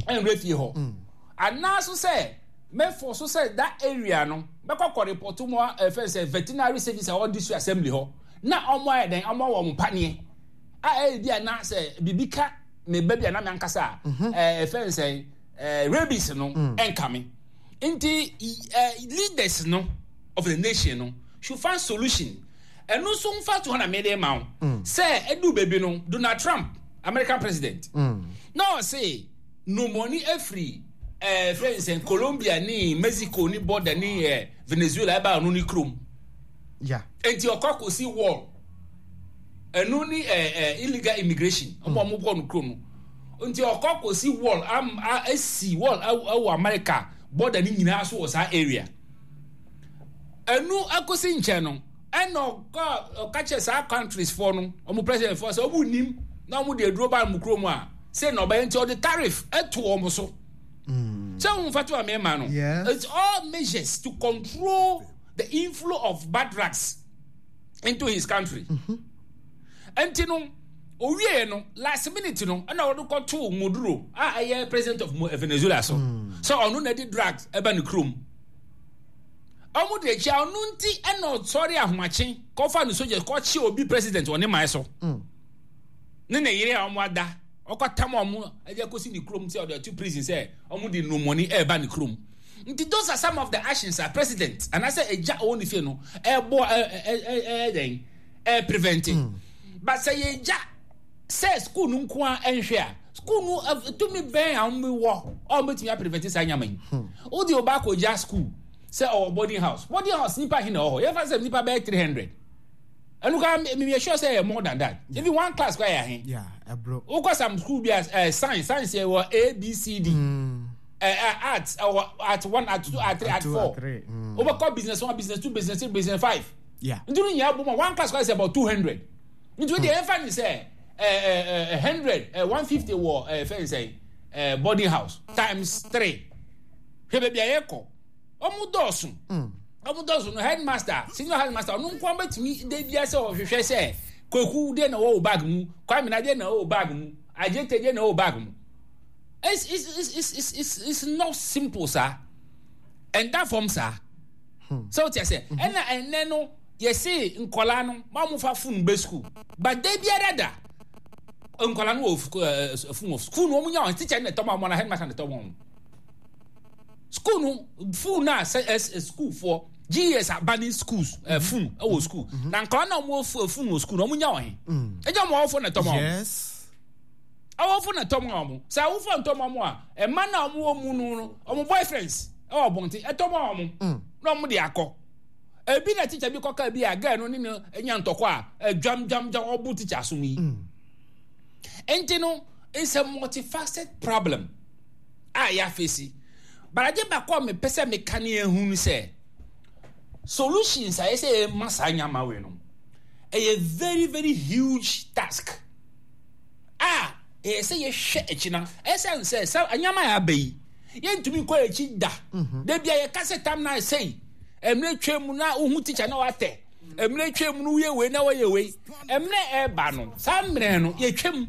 ɛnwura fie hɔ. Anaaso sɛ mɛfɔ so sɛ that area no mɛkɔ kɔ report mu a ɛfɛ sɛ veterinary service a ɔwɔ district assembly hɔ na ɔmo ayɛ dɛn, ɔmo awɔ ɔmo paneɛ a ɛyɛ bi a na sɛ biribi ka me ba bi a na me ankasa a ɛɛ ɛfɛ sɛ ɛɛ rabies no ɛnka me. Nti ɛɛ leaders no of the nation no should find solution. Ɛno nso nfa to hɔ na mede ma wo sɛ ɛdu baabi no, Donald Trump, American president, na ɔse nomɔni afiri ɛɛ fɛn sɛ Colombia ne Mexico ne border ne ɛɛ Venezuela ɛba ɔno ne kurom. Yeah. Nti ɔkɔ akɔsi wall. Ɛno ne ɛɛ ɛɛ illegal immigration ɔmo a ɔmo kɔ no kurom no. Nti ɔkɔ akɔsi wall am a esi wall ɛwɔ America border ne nyinaa so wɔ saa area. Ɛno akɔsi nkyɛn no, ɛna ɔkɔ ɔka kyerɛ saa countries foɔ no, ɔmo president foɔ sɛ ɔmo nim na ɔmo de aduro ba ɔmo kurom a, sɛ na ɔbɛyɛ. Nti ɔde tariff ɛto ɔmo so. Sɛ ɔmo fa to amema no, Yes. it's all measures to control the inflow of bad drugs into his country. Nti no owie no, last minute no, ɛna ɔde kɔtoo Maduro a ɛyɛ president of Mo- Venezuela so sɛ ɔno na ɛde drugs ɛba ne kurom. Ɔmo de akyi a ɔno nti ɛna ɔsɔre ahomakye kɔfa ne soldiers kɔkye obi president wɔ ne man so ne ne yere a ɔmo ada, ɔkɔtam ɔmo ɛde akɔsi ne kurom sɛ ɔde ato prison sɛ ɔmo de numɔni ɛɛba ne kurom. Nti those are some of the actions a president anaasɛ egya ɔwɔ ne fie no ɛɛbɔ ɛ ɛ ɛ ɛyɛ dɛn ɛɛ prevent. But sɛ yɛgya sɛ school no nko a ɛnhwɛ a, school no ɛ, tumi bɛn a wɔn wɔ a wɔn bɛtumi aprevent saa nyama yi? Wode ɔba akɔgya school sɛ ɔwɔ boarding house. Boarding house, nipa hin na ɛwɔ hɔ? Yɛfa sɛ nipa bɛyɛ three hundred. Ɛno koraa mi mi sure sɛ ɛyɛ more than that. Even one class koraa yɛ ahen? Yeah, ɛbro. Wokɔ some school bi a ɛɛ science science yɛ wɔ A, B, C, D, ɛɛ ɛ art ɛwɔ art one, art two, art three, art two, four. Art three, mm. Wobɛkɔ business one, business two, business three, business five. Yeah. Nti no nyinaa bɔ mu a, one class koraa is about two hundred. Nti o deɛ, yɛmfa ne sɛ ɛɛ ɛɛ hundred ɛɛ one fifty wɔ ɛɛ fɛn sɛ ɛɛ boarding house times three. Hwɛ baabi a yɛkɔ, ɔmo dɔɔso, ɔmo dɔɔso no, headmaster, senior headmaster, ɔno nko bɛtumi de bia sɛ ɔhwehwɛ sɛ Kwaku deɛ na ɛwɔ wo bag mu, Kwame na deɛ na ɛwɔ wo bag mu, Agyete deɛ na ɛwɔ wo bag mu? it's it's it's it's it's it's, it's not simple saa. Ɛnda fam saa sɛ wote sɛ ɛna ɛnɛ no yɛse nkɔlaa no ma mo fa phone bɛ school, but da biara da nkɔlaa no wɔ ɛɛ phone wɔ school no, wɔn nya wɔn teacher na ɛtɔ ma wɔn na headmaster na ɛtɔ ma wɔn. School no phone na sɛ ɛ school foɔ G E S abanning schools ɛ phone ɛwɔ school na nkɔlaa na wɔn wɔ phone wɔ school na wɔn nya wɔn he? Ɛgya wɔn awɔfo na ɛtɔ ma wɔn. Yes. Awɔfo na ɛtɔ ma wɔn. Sɛ awofo ntɔ ma wɔn a, ɛma na wɔn wɔ mu no no wɔn boyfriends ɛwɔ abɔnten ɛtɔ ma wɔn na wɔn de akɔ. Ebi na teacher bi kɔka bi a, girl no ne no nya ntɔkwa a ɛdwam dwam dwam, ɔbo teacher asom yi. Nti no it's a multifaceted problem a yɛafesi, but ade baako a mepɛ sɛ meka ne ehu no sɛ solutions a yɛsɛ yɛma saa nyama wei no, ɛyɛ very very huge task a ɛyɛ sɛ yɛhwɛ akyi na ɛsɛn sɛ sɛ nyama a aba yi, yɛntumi nkɔ akyi da. Da bi a yɛka sɛ tam na sɛi mmerɛ twa mu na wohu teacher na watɛ mmerɛ twa mu no, woyɛ wei na wɔyɛ wei. Mmerɛ ɛreba no, saa mmerɛ no yɛtwam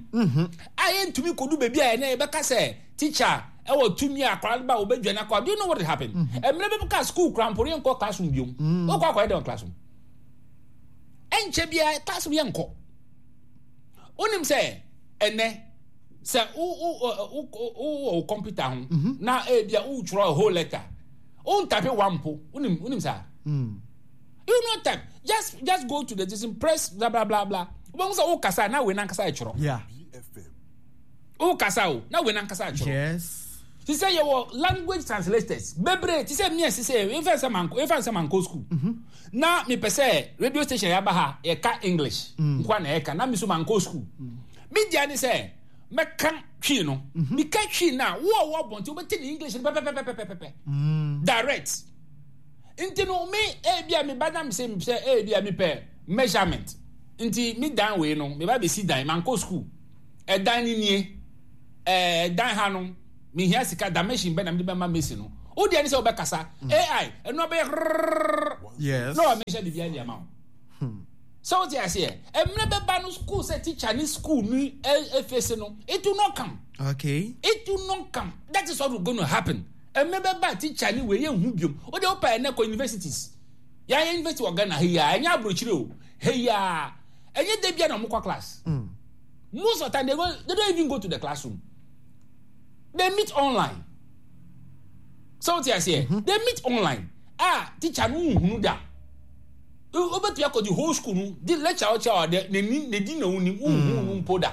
a yɛntumi kɔdu baabi a ɛnɛ yɛbɛka sɛ teacher ɛwɔ tumi a akwadaa no ba wɔbɛdwane akɔ. Do you know what happen? Mmerɛ bɛbi ka school kora mpo yɛnkɔ classroom biom. Wokɔ akɔyɛ dɛn wɔ classroom? Ɛnkyɛ biara classroom yɛnkɔ. Wonim sɛ ɛnɛ sɛ wo wo wo wo wɔ wo computer ho na ebi a wotwerɛ a whole letter, wontype one mpo. Wonim, wonim saa, you no type, just just go to the system, press bla bla bla bla. Wobɛhu sɛ wokasa na wei nankasa ɛtwerɛ. Yeah. Wokasa o na wei nankasa ɛtwerɛ. Yes. Te sɛ yɛwɔ language translators bebree. Te sɛ mmea sɛ efa sɛ manko efa sɛ manko school na mepɛ sɛ radio station yaba ha yɛka English nkoa na yɛka na mi so manko school. Mi dia ne sɛ mɛka Twi no, meka Twi no a, wo a wɔ abɔnten wobɛte ne English no pɛpɛpɛpɛpɛpɛ direct. Nti no me ebi a meba na sɛ sɛ ebi a mepɛ measurement Nti me dan wei no, me ba bɛsi dan, mankɔ school. Ɛdan no nie. Ɛɛ dan ha no, mehia sika dimension bɛ na mede bɛma mesi no. Wo deɛ ne sɛ wobɛkasa. A I, ɛno abɛyɛ rrrr. Yes. Na wamehyɛ biribiara de ama wo. Sɛ wote aseɛ, mmerɛ bɛba no school sɛ teacher ne school no efese no, it will not come. Okay. It will not come. That is what will going to happen. Mmerɛ bɛba teacher ne wei yɛnhu biom. Wo deɛ wopɛ ɛnɛ kɔ universities. Yɛayɛ university wɔ Ghana ha yi a, ɛnyɛ aburokyire o. Ha yi a, ɛnyɛ da bia na wɔkɔ class. Mm. Most of the time they, go, they don't even go to the classroom. They meet online. Sɛ wote aseɛ, mm-hmm. they meet online. Ah, teacher no nhunu da. Wobɛtumi akɔ the whole school no, di lecture ɔkyerɛ ɔde n'ani n'edi na onim, nhunu no mpo da.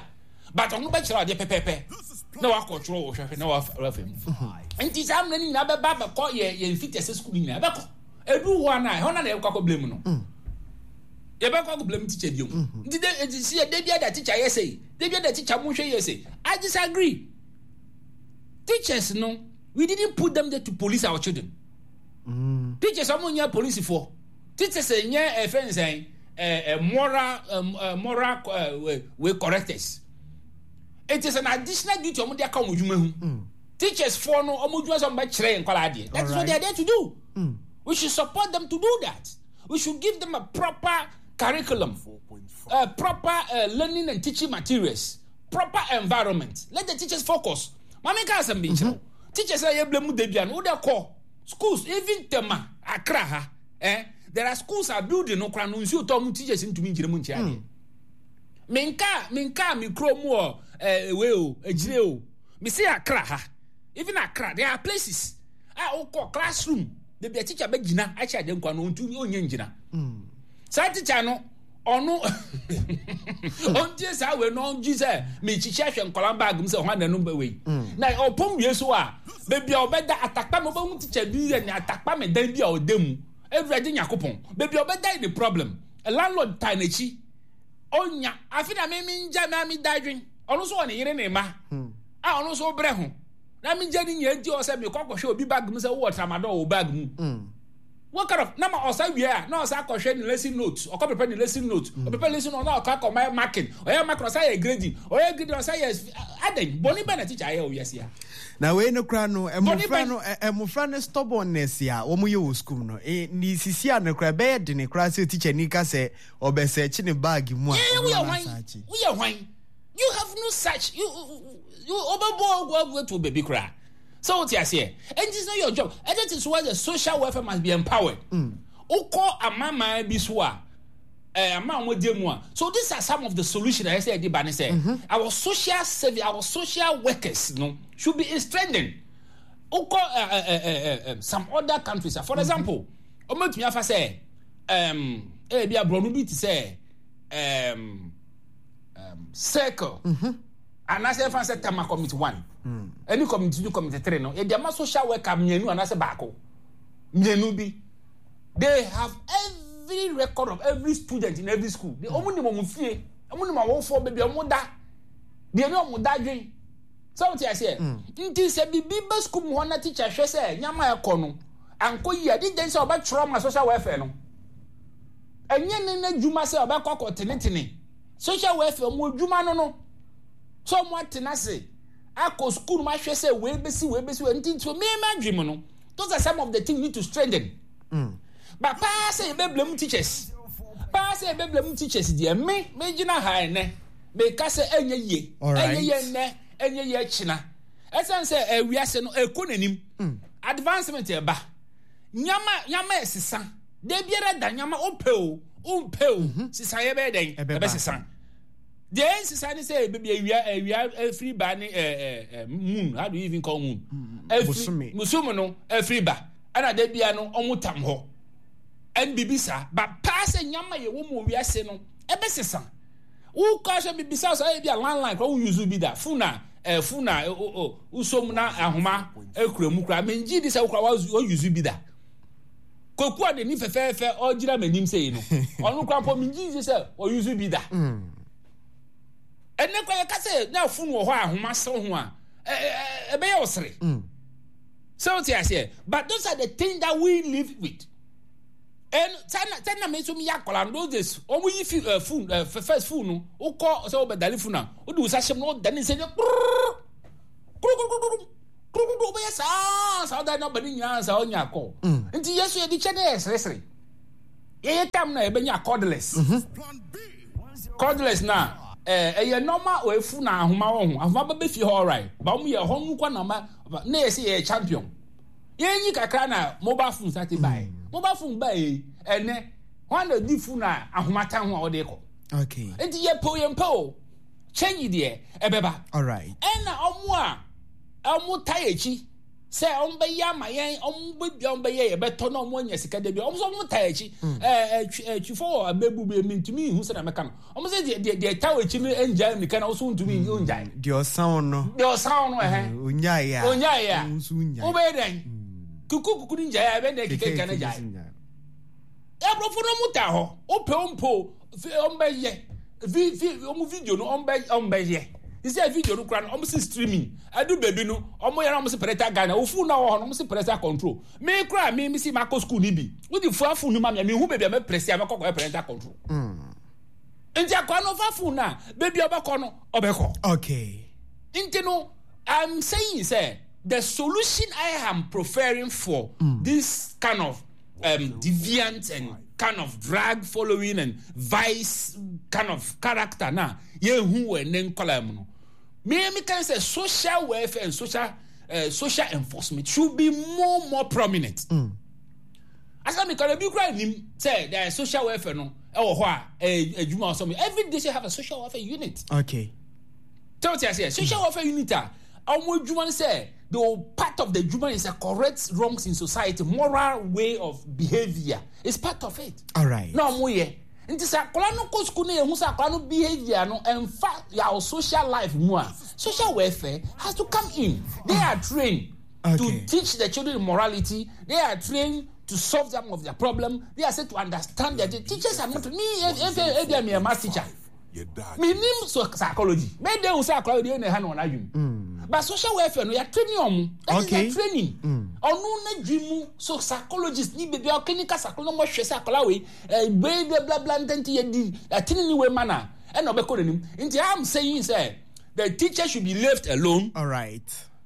But ɔno bɛkyerɛ adeɛ pɛpɛɛpɛ na wakɔtwerɛ wɔ hwɛhwɛ na wafa mu. Nti saa mmerɛ no nyinaa bɛba bɛkɔ yɛ yɛn mfitiase school no nyinaa bɛkɔ. Edu hɔ a na ɛhɔ na na yɛbɛkɔ akɔ blame no. Yɛbɛkɔ akɔ blame teacher bio. Nti de nti si yɛ de bi ada teacher yɛ sɛ de bi ada teacher mo hwɛ yɛ sɛ. I disagree. Teachers no, we didn't put them there to police our children. Mm. Teachers ɔmo nyɛ polisifoɔ. Teachers nyɛ ɛfɛ nsɛn ɛɛ moral ɛɛ moral ɛɛ we correctors. It is an additional duty ɔmo de aka ɔmo dwuma ho. Mm. Teachers foɔ no ɔmo dwuma sɛ ɔmo bɛ kyerɛ yɛn nkɔla adeɛ. That is what they are there to do. Mm. We should support them to do that. We should give them a proper curriculum, uh, proper uh, learning and teaching materials, proper environment. Let the teachers focus. Mami ka asɛm bi nkyerɛ wo. Teachers a yɛblɛ mu da bia no, wode kɔ schools, even Tema, Accra ha. Eh, there are schools are building no kora no nsuo tɔ mu teachers ntumi nkyerɛ mu nkyerɛ adeɛ. Menka menka me kuro mu wɔ eh, wei o, akyire o. Mese Accra ha. Even Accra, there are places a wokɔ classroom baabi a teacher bɛgyina akyɛ adeɛ nkwa no ɔntumi ɔnyɛ ngyina. Saa teacher no ɔno ɔntie saa wei no ɔngye sɛ mekyikyi ahwɛ nkɔla bag mu sɛ hwan na ɛno wei na ɔpɔm wie so a baabi a ɔbɛda atakpa me ɔbɛhu teacher bi yɛ ne atakpa me dan bi a ɔda mu Awurade Nyakopɔn baabi a ɔbɛda yɛ ne problem landlord taa n'akyi ɔnya afe na me mengya me a meda adwen ɔno nso wɔ ne yere ne mma a ɔno nso brɛ ho na megya ne nyinaa nti ɔsɛ mekɔ akɔhwɛ obi bag mu sɛ wowɔ tramadol wɔ bag mu what kind of na ma ɔsa wie a na ɔsa akɔhwɛ ne lesson note ɔkɔ prepare ne lesson note mm. ɔprepare lesson note na ɔkɔ akɔ ma marking ɔyɛ marking ɔsa yɛ grading ɔyɛ grading ɔsa yɛ adan bɔnne bɛn na teacher ayɛ wɔ wiase a. Na wei no kora no mmofra no mmofra no stubbornness a wɔn yɛ wɔ sukuu no e ne sisi a no kora ɛbɛyɛ dene kora sɛ teacher ni ka sɛ ɔbɛsɛkye ne bag mu a ɔno asaakye. Woyɛ hwan? You have no such you you ɔbɛbɔ ɔgu to baabi koraa. Sɛ wote aseɛ, and it's not your job. And that is why the social welfare must be empowered. Wokɔ amanaman bi so a, eh, ama wɔn adi mu a. So these are some of the solutions a yɛsɛ yɛde ba ne sɛ, our social service, our social workers no should be strengthened. Wokɔ eh, eh, eh, eh, eh, some other countries, for example, wɔn atumi afa sɛ, um, ebi aborɔno bi te sɛ, um, um, circle. Mm -hmm. Anaasɛ yɛfa sɛ Tema committee one ɛne committee two, committee three no yɛde ama social worker mmienu anaasɛ baako mmienu bi. They have every record of every student in every school. They wɔn nim wɔn fie, wɔn nim awofoɔ baabi a wɔn da, deɛ ne wɔn da dwen. Sɛ wɔte aseɛ nti sɛ biribi ba school mu hɔ na teacher hwɛ sɛ nyama ɛkɔ no ankɔ yie a, de gyɛn sɛ ɔbɛtwerɛ ma social welfare no. Ɛnyɛ ne n'adwuma sɛ ɔbɛkɔ akɔ tenetene. Social welfare wɔn adwuma no no sɛ wɔn atena ase akɔ sukuu no ahwɛ sɛ wei bɛsi wei bɛsi wei nti nti me ma adwene mu no those are some of the things need to strengthen mm. But paa sɛ yɛbɛ blame teachers, paa sɛ yɛbɛ blame teachers deɛ, me me gyina ha ɛnɛ meka sɛ ɛnyɛ yie, ɛnyɛ yie ɛnɛ, ɛnyɛ yie ɛkyina, ɛsɛn sɛ ɛwiase no ɛkɔ n'anim mm. Advancement ɛba, nyama nyama ɛsesa da biara da, nyama wopɛ o wompɛ o mhm. sesa yɛbɛyɛ dɛn ɛbɛsesa. Deɛ ɛnsesa ne sɛ baabi awia awia afiri ba ne ɛɛ ɛɛ moon, how do you even call moon, afiri bosome no afiri ba, ɛna da bia no ɔmo tam hɔ ɛn bibi saa. Ba paa sɛ nyama yɛ wɔ mu wiase no ɛbɛsesa. Wokɔ sɛ bibisa sɛ ɛyɛ bi a landline kora wo use bi da, phone a ɛɛ phone a o o wosom na ahoma ekura mu kora mengye di sɛ wokora wo use bi da. Kwaku a n'ani fɛfɛɛfɛ ɔgyina m'anim sɛ yi no, ɔno kora mpo mengye di sɛ ɔuse bi da. Ɛnɛ kora yɛka sɛ na phone wɔ hɔ a ahoma sew ho a ɛbɛyɛ ɔsere. Sɛ wote aseɛ, but those are the things that we live with. Ɛn sɛ sɛ na me nso meyɛ akwadaa no, those days wɔn yi fi ɛɛ phone ɛɛ first phone no, wokɔ sɛ wobɛdane phone a, wode wo nsa hyɛ mu na wodane nsa nyɛ kpurr kurukuru kurukuru, wobɛyɛ saa saa wodane nɔmba no nyinaa saa wonya akɔ. Nti yɛ so yɛde kyɛ ne yɛ seresere. Yɛyɛ tam na yɛbɛnya cordless. Cordless na ɛɛ ɛyɛ nɔɔma efu na ahoma wɔ ho. Ahoma bɛbɛ fie hɔ alright. Ba wɔn yɛ hɔ no kɔ na ma ne yɛ sɛ yɛ champion. Yɛnyi kakra na mobile phone sate bae. Mobile phone bae yi, ɛnɛ, hwan na di phone a ahoma tan ho a ɔde kɔ? Okay. Nti yɛpɛ o yɛmpɛ o, change deɛ ɛbɛba. Alright. Ɛna ɔmo a ɔmo tae akyi sɛ ɔmo bɛyɛ ama yɛn, ɔmo bɛdua ɔmo bɛyɛ yɛbɛtɔ na ɔmo anya sika da bi, ɔmo nso ɔmo tae akyi. Ɛɛ ɛtwi ɛtwifo wɔ abɛbu bi emi ntumi nhu sɛ na mɛka no. Ɔmo sɛ deɛ deɛ deɛ ɛta wɔ akyi no ngyae mirika na ɔso ntumi ngyae. Deɛ ɔsan no. Deɛ ɔsan no ɛhɛn. Onyae a. Onyae a. Nso nyae. Wobɛyɛ dɛn? Kuku kuku no ngyae a ɛbɛn dɛn keka keka no gyae. Aborɔfo no ɔmo ta hɔ. Wopɛ wo mpo ɔmo bɛyɛ. Vi vi ɔmo video no ɔmo bɛ ɔmo bɛyɛ. Sɛ video no kora no ɔmo si streaming. Ɛdu baabi no ɔmo yɛ na ɔmo si parental guidance. Wo phone na wɔ hɔ no ɔmo si parental control. Me kora me me si makɔ school ni bi. Wode fua phone no ma me a mehu baabi a mɛprɛsi a mɛkɔ kɔyɛ parental control. Nti akwa no ɔfa phone na baabi a ɔbɛkɔ no ɔbɛkɔ. Okay. Nti no I'm saying sɛ the solution I am preferring for mm. this kind of um, deviant and kind of drug following and vice kind of character na yɛhu wɔ ɛnɛ nkɔla mu no me me kan sɛ social welfare and social uh, social enforcement should be more more prominent. Mm. Asa mi kora bi kura nim sɛ there is social welfare no ɛwɔ hɔ a ɛyɛ adwuma ɔsɔ mi every district have a social welfare unit. Okay. Tell me say social welfare unit a wɔn adwuma no sɛ the part of the adwuma is a correct wrongs in society, moral way of behaviour is part of it. All right. Na wɔn yɛ nti sɛ akwadaa no kɔ sukuu no yɛ hu sɛ akwadaa no behaviour no ɛnfa yà social life mu a, social welfare has to come in. They are trained okay. to teach the children morality. They are trained to solve some of their problem. They are said to understand their teachers are not me. If if if I'm a math teacher, me nim so psychology. Me de usa akora de na ha no na adwum. But social welfare no ya training omo. That Okay. is their training. Ono na dwimu so psychologist ni baby clinical psychologist mo hwe sɛ akora we eh bla bla bla bla ntenti ye di atini ni we mana e na obekɔ n'anim. Nti I'm saying say the teacher should be left alone. All right.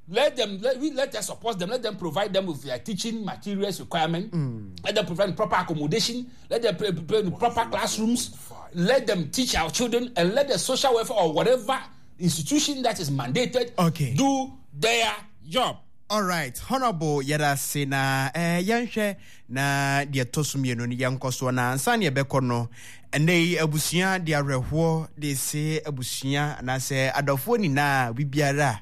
Let them let, we let us support them. Let them provide them with their teaching materials requirement. Mm. Let them provide proper accommodation. Let them pre- pre- proper classrooms. Let them teach our children, and let the social welfare or whatever institution that is mandated okay. do their job. All right, Honorable yɛda ase na eh, yɛnhwɛ na deɛ ɛtɔ so mmienu no yɛnkɔ soɔ na ansa ne yɛbɛkɔ no ɛnɛ yi abusua de awerɛhoɔ de se abusua anaasɛ adɔfoɔ nyinaa biribiara a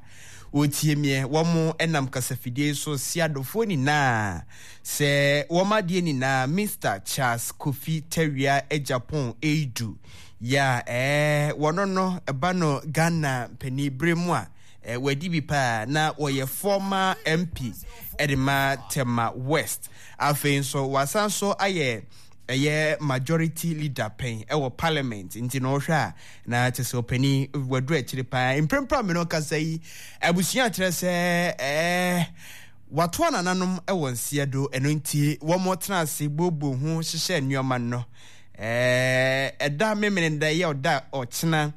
wɔtie meɛ wɔn nam kasafidie so se adɔfoɔ nyinaa sɛ wɔn adeɛ nyinaa Mister Charles Kofi Tawia Agyapong Eidu yɛ a ɛɛ wɔno no ɛba no Ghana mpanin bere mu a eh, wadi bi paa na wɔyɛ former M P ɛde ma Tema West. Afei nso wasan so ayɛ ɛyɛ majority leader pɛn ɛwɔ parliament, nti na ɔhwɛ a na kyerɛ sɛ ɔpanin waduru akyire paa. Mprempren a me no kasa yi, abusua kyerɛ sɛ ɛɛ wato anananom ɛwɔ nseɛ do, ɛno nti wɔn tena ase booboo ho hyehyɛ nneɛma no ɛɛ ɛda memene da yɛ ɔda ɔkyena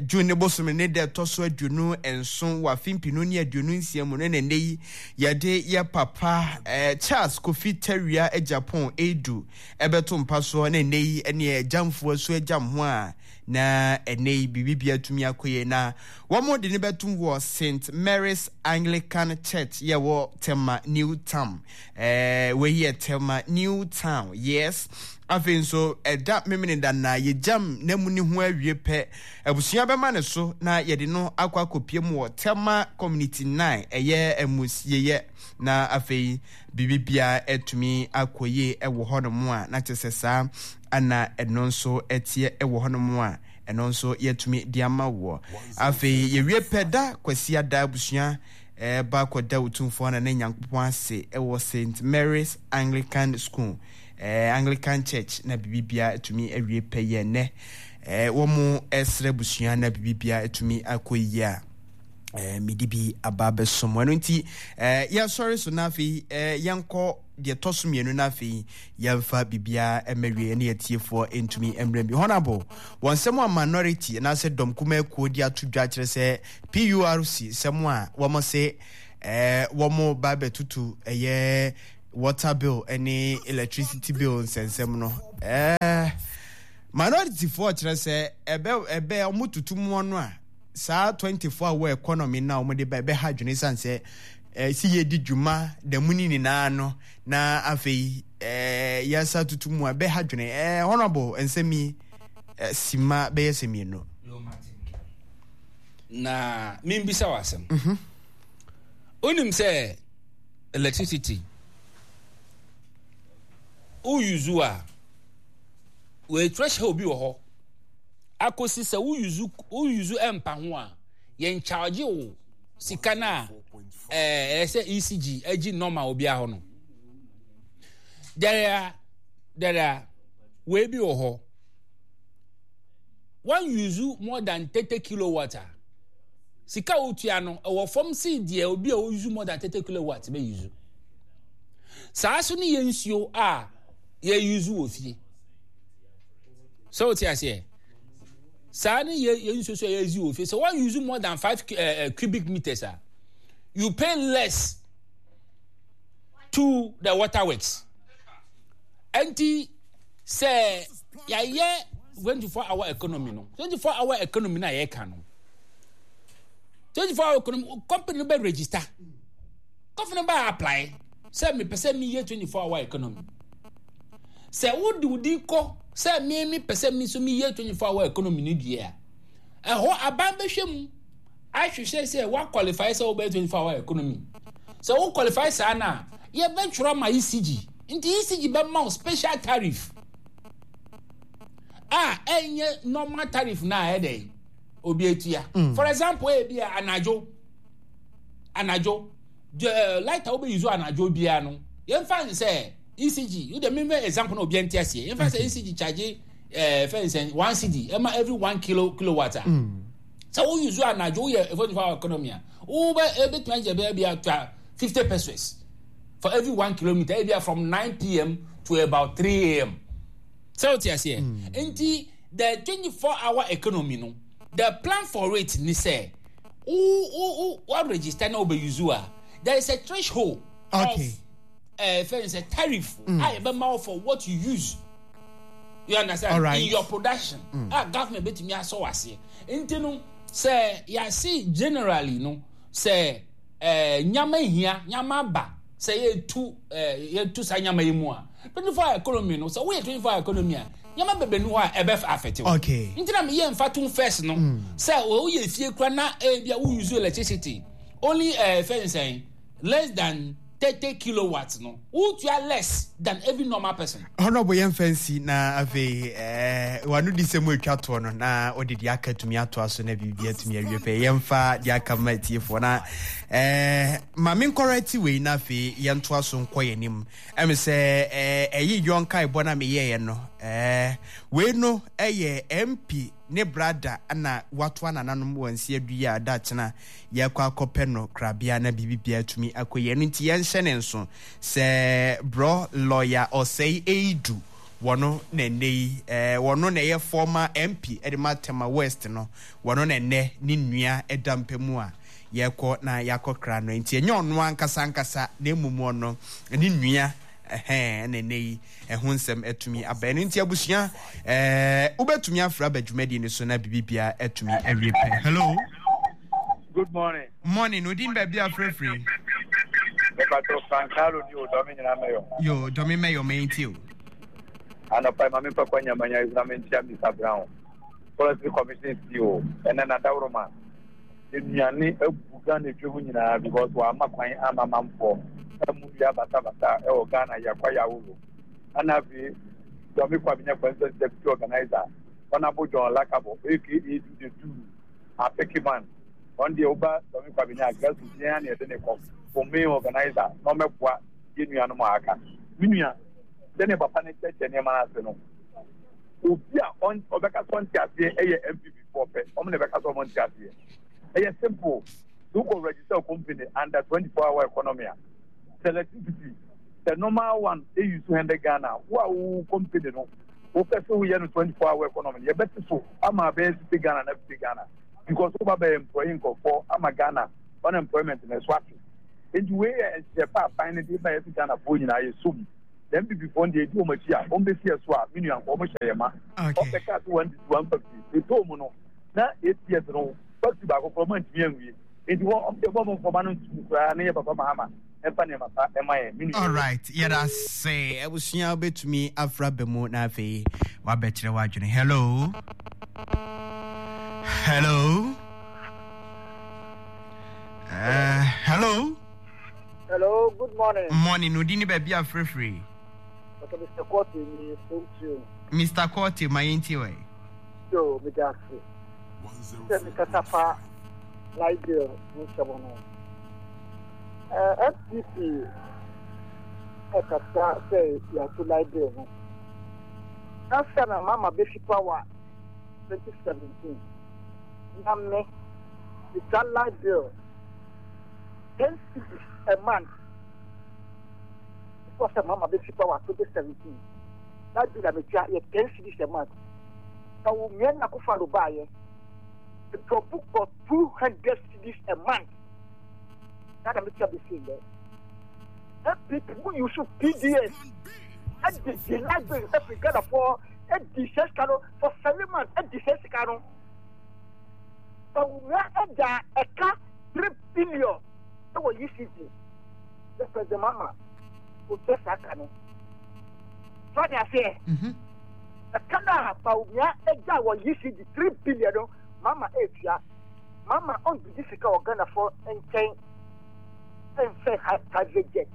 June ne bosome ne da ɛtɔ so aduonu nson wɔ afe mpenu ne aduonu nsia mu no na ɛnnɛ yi yɛde yɛ papa eh, Charles Kofi Tawia Agyapong Edu ɛbɛto mpa soɔ na ɛnnɛ yi ɛne agyamfoɔ so agyam ho a na ɛnnɛ yi biribi atumi akɔ yie na wɔn de ne bɛtom wɔ Saint Mary's Anglican Church yɛ wɔ Tema New Town. eh, wei yɛ Tema New Town, yes. Afei nso ɛda Memeneda na yɛgyam n'amu ne ho awie pɛ, abusua bɛma ne so na yɛde no akɔ akɔpie mu wɔ Tema Community nine, ɛyɛ amusieyɛ, na afei biribi biara atumi akɔ yie ɛwɔ hɔnom a na kyerɛ sɛ saa ana ɛno nso ɛteɛ ɛwɔ hɔnom a ɛno nso yɛatumi de ama wɔ. Afei yɛwie pɛ da Kwasiada abusua ɛba kɔda Otumfoɔ na ne Nyankopɔn ase ɛwɔ Saint Mary's Anglican School, eh, Anglican Church na biribi biara atumi awie pɛ yɛ nnɛ eh, wɔn ɛsrɛ abusua na biribi biara atumi akɔ yie a Eh, mede bi aba abɛsom. Ɛno nti eh, yɛsɔre so na afei eh, yɛnkɔ deɛ ɛtɔ so mmienu na afei yɛmfa biribiara mmawie ne atiefoɔ ntumi mmerɛ bi. Honorable, wɔn nsɛm a minority anaasɛ dɔm kumaa kuo de ato dwa kyerɛ sɛ P U R C sɛm a wɔn se eh, wɔn ba bɛtutu ɛyɛ water bill ne electricity bill nsɛnsɛm no, eh, minority foɔ kyerɛ sɛ ɛbɛ ɛbɛ wɔn tutu mu no a saa twenty-four hour economy na wɔde ba ɛbɛha adwene san sɛ eh, si yɛdi dwuma da mu ne nyinaa no na afei eh, yɛsa tutu mu a ɛbɛha adwene. eh, honorable nsɛm yi eh, sima bɛyɛ sɛ mmienu. Na membisa wɔ asɛm. Wonim sɛ electricity wouse a wei threshold bi wɔ hɔ akɔsi sɛ wouse wouse ɛmpa ho a yɛn charge wo sika no a ɛɛ ɛyɛ sɛ E C G agyi normal obiara hɔ no. There are there are wei bi wɔ hɔ, one use more than thirty kilowatt a sika a wotua no ɛwɔ fam si deɛ obi a ɔuse more than thirty kilowatt bɛ use. Saa so ne yɛ nsuo a yɛ use wɔ fie sɛ wote aseɛ, saa ne yɛ yɛ nsuo so a yɛ use wɔ fie sɛ one use more than five uh, uh, cubic meters a you pay less to the water works. Ɛnti sɛ yɛayɛ twenty four hour economy no, twenty four hour economy na yɛka no, twenty four hour economy company no bɛ register, company no bɛ apply sɛ mepɛ sɛ meyɛ twenty four hour economy. Sɛ wode wo din kɔ sɛ me mepɛ sɛ me nso meyɛ twenty four hour economy no deɛ a, ɛhɔ aban bɛhwɛ mu ahwehwɛ sɛ wa qualify sɛ wobɛyɛ twenty four hour economy. Sɛ wo qualify saa no a, yɛbɛtwerɛ ma E C G, nti E C G bɛma wo special tariff a ɛnyɛ normal tariff na ɛyɛ dɛ obi atua. For example, ebi a anadwo anadwo uh, light a wobɛ use anadwo biara no, yɛmfa n sɛ E C G wode memɛ example na obiara nte aseɛ, yɛmfa sɛ E C G charge ɛɛ fɛn sɛn one cedi ɛma every one kilo kilowatt a sɛ wo use anadwo woyɛ twenty four hour economy a wobɛ ebetumi agye bɛyɛ bi atwa fifty pesewas for every one kilometer, ebi from nine p m to about three a m. Sɛ o ti aseɛ, nti the twenty four hour economy no, the plan for it ni sɛ wo wo wo wa register na wo bɛ use a, there is a threshold okay. of uh, fɛn sɛ tariff mm. a yɛbɛma wo for what you use, you understand? All right. In your production mm. a government bɛtumi asɔ w'aseɛ. Nti no sɛ yɛase generally no sɛ ɛɛ nyama hia nyama ba sɛ yɛtu ɛɛ yɛtu saa nyama yi mu a, twenty four hour economy no, sɛ woyɛ twenty four hour economy a, nyama bebree ni hɔ a ɛbɛ affect wo. Okay. Nti na meyɛ nfa to first no sɛ woyɛ fie kura na ebi a wo use electricity only ɛɛ fɛn sɛn less than thirty kilowatts no, wotua less than every normal person. Honorable, yɛmfa nsi na afei eh, wano di sɛ mu atwa toɔ no na wode deɛ aka tumi atoa so na biribi atumi awie pɛ. Yɛmfa deɛ aka ma atiefoɔ na eh, ma menkɔrɔ ati wei na afei yɛntoa so nkɔ yɛn anim. Ɛme sɛ eh, ɛyi yɔ nkaebɔ na meyɛeɛ no, eh, wei no ɛyɛ M P ne brada na watoa nananom wɔ nsi adu yi a da kyena yɛkɔ akɔpɛ no krabea na biribi atumi akɔ yɛ no. Nti yɛnhyɛ ne nso sɛ brɔ lɔya Ɔsɛe Eidu wɔno na ɛnɛ yi ɛɛ wɔno na ɛyɛ former M P ɛde ma Tema West no, wɔno na ɛnɛ ne nua ɛda mpɛ mu a yɛkɔ na yɛakɔ kra no. Nti ɛnyɛ ɔno ankasa ankasa na emom ɔno ne nua ɛhɛn ɛna ɛnɛ yi ɛho nsɛm atumi aba. Ɛno nti abusua, ɛɛ wobɛtumi afra aba dwumadie no so na biribi atumi awie pɛ. Hello. Good morning. Morning. Odin, baabi afrɛfrɛ? Mepatɔ Frankalo ni o, Dɔmi nyinaa mɛyɔ. Yo, Dɔmi mɛyɔ mɛyɛ ti o. Anɔpa yi maame mpɛ kwan nyamanya yi na menkyia Mister Brown. Forestry Commission C E O ɛnɛ na dawuroma. Nnuane abu Ghana dwom nyinaa because wama kwan ama manfoɔ ɛmu dua basabasa ɛwɔ Ghana yakwa yawolo. Ana afei Dɔmi Kwabenya Constituency Deputy Organizer Honorable John Lakabo A K A Do the Do Apeke man. Ɔn deɛ woba Dɔmi Kwabenya grassroots yɛn a na yɛde ne kɔ for main organizer na ɔmɛboa yɛn nuanom a aka. Me nua, sɛnea papa no kyerɛkyerɛ nneɛma no ase no, obi a ɔbɛka sɛ ɔnte aseɛ ɛyɛ N P P foɔ pɛ, ɔmo na ɛbɛka sɛ ɔmo nte aseɛ. Ɛyɛ simple. So wokɔ register company under twenty four hour economy a, sɛ electricity, the normal one eyi so hundred Ghana, wo a wo company no wopɛ sɛ woyɛ no twenty four hour economy no, yɛbɛte so ama abɛyɛ sixty Ghana na fifty Ghana, because woba bɛyɛ employee nkurɔfoɔ ama Ghana unemployment na ɛso ate. Nti wei yɛ nhyehyɛ pa aban no de ba yɛ sɛ Ghanafoɔ nyinaa yɛ so mu. Na N P P foɔ deɛ, ɛdi wɔn akyi a, wɔn bɛsi ɛso a, me nua nkɔ wɔn hyɛ yɛ ma. Ɔbɛka sɛ one district one factory ɛtɔɔ mu no na eight years no, factory baako koraa ɔmo antumi anwie. Nti wɔn ɔmo deɛ, bɔ ɔmo mfɔma no ntum koraa na yɛ papa Mahama ɛmfa nneɛma pa ɛma yɛn, me nua. Alright, yɛda se abusua, wobɛtumi afra ba mu na afei wabɛkyerɛ w'adwene. Hello, hello, uh, hello. Hello, good morning. Morning. Odi ni baabi afrɛfrɛ? Okay, Mister Kote ni phone to. Mister Kote, ma yɛntie wɛ. Yo, me da ase. Sɛ me kasa fa light bill nsɛm no. Eh, N P P ɛkasa sɛ yɛato light bill no. Ansa na Mahama bɛfi power twenty seventeen, na me metua light bill ten cedis a month before sɛ Mahama bɛfi power twenty seventeen. Light bill a metua yɛ ten cedis a month. Na wo mmea na Akufo-Addo baayɛ, drop kɔ two hundred cedis a month. Na na metua bɛsi ndɛ. N P P mu use P D S ɛde di light bill ɛfiri Ghanafoɔ, ɛdi sɛ sika no for seven months, ɛdi sɛ sika no. Bawumia ɛda ɛka three billion ɛwɔ E C G. The President Mahama otua saa ka no. So ade aseɛ, ɛka no a Bawumia ɛgya wɔ E C G three billion no, Mahama ɛtua. Mahama ɔndidi sika wɔ Ghanafoɔ nkyɛn ɛnfɛ ha private jet.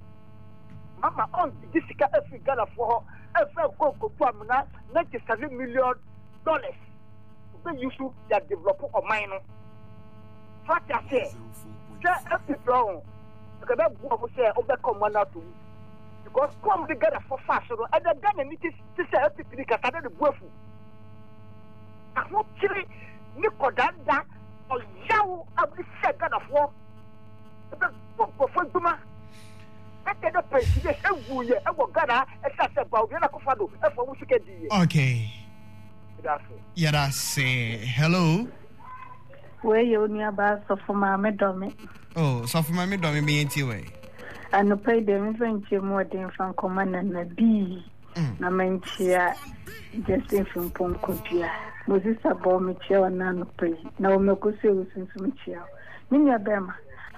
Mahama ɔndidi sika ɛfiri Ghanafoɔ hɔ ɛfɛ nkɔ nkotu amena ninety seven million dollars ɔbɛyi so de develop ɔman no. So ate aseɛ sɛ N P P ɔho ɛkɛ bɛ bu ɔmo sɛ ɔbɛka ɔmo ano ato mu, because kɔm de Ghanafoɔ fa so no, ɛnɛ Ghana ni ti ti sɛ N P P ni kasa ne ne bu afu ahokyere ne kɔdanda ɔyaw a wɔde hyɛ Ghanafoɔ ɛbɛ bɔ nkurɔfoɔ adwuma ɛtɛ dɛ pɛnsideɛ ewu yɛ ɛwɔ Ghana ɛsɛ sɛ Bawumia na Akufo-Addo ɛfɔ ɔmo sika di yɛ. Okay. Ɛda ase. Yɛda se. Hello. Wei yɛ onuabaa Sɔfo Maame Dɔme. Oh, Sɔfo Maame Dɔme, meyɛntie wɛ. Anɔpa yi deɛ, memfa nkyɛ mu ɔden mfa nkɔma Nana Bii na mankyia Justin Frimpong Kodua. Moses Abɔ, mekyia wo na anɔpa yi. Na wɔmɛkɔ so ewu so nso mekyia wo. Me nua bɛrima,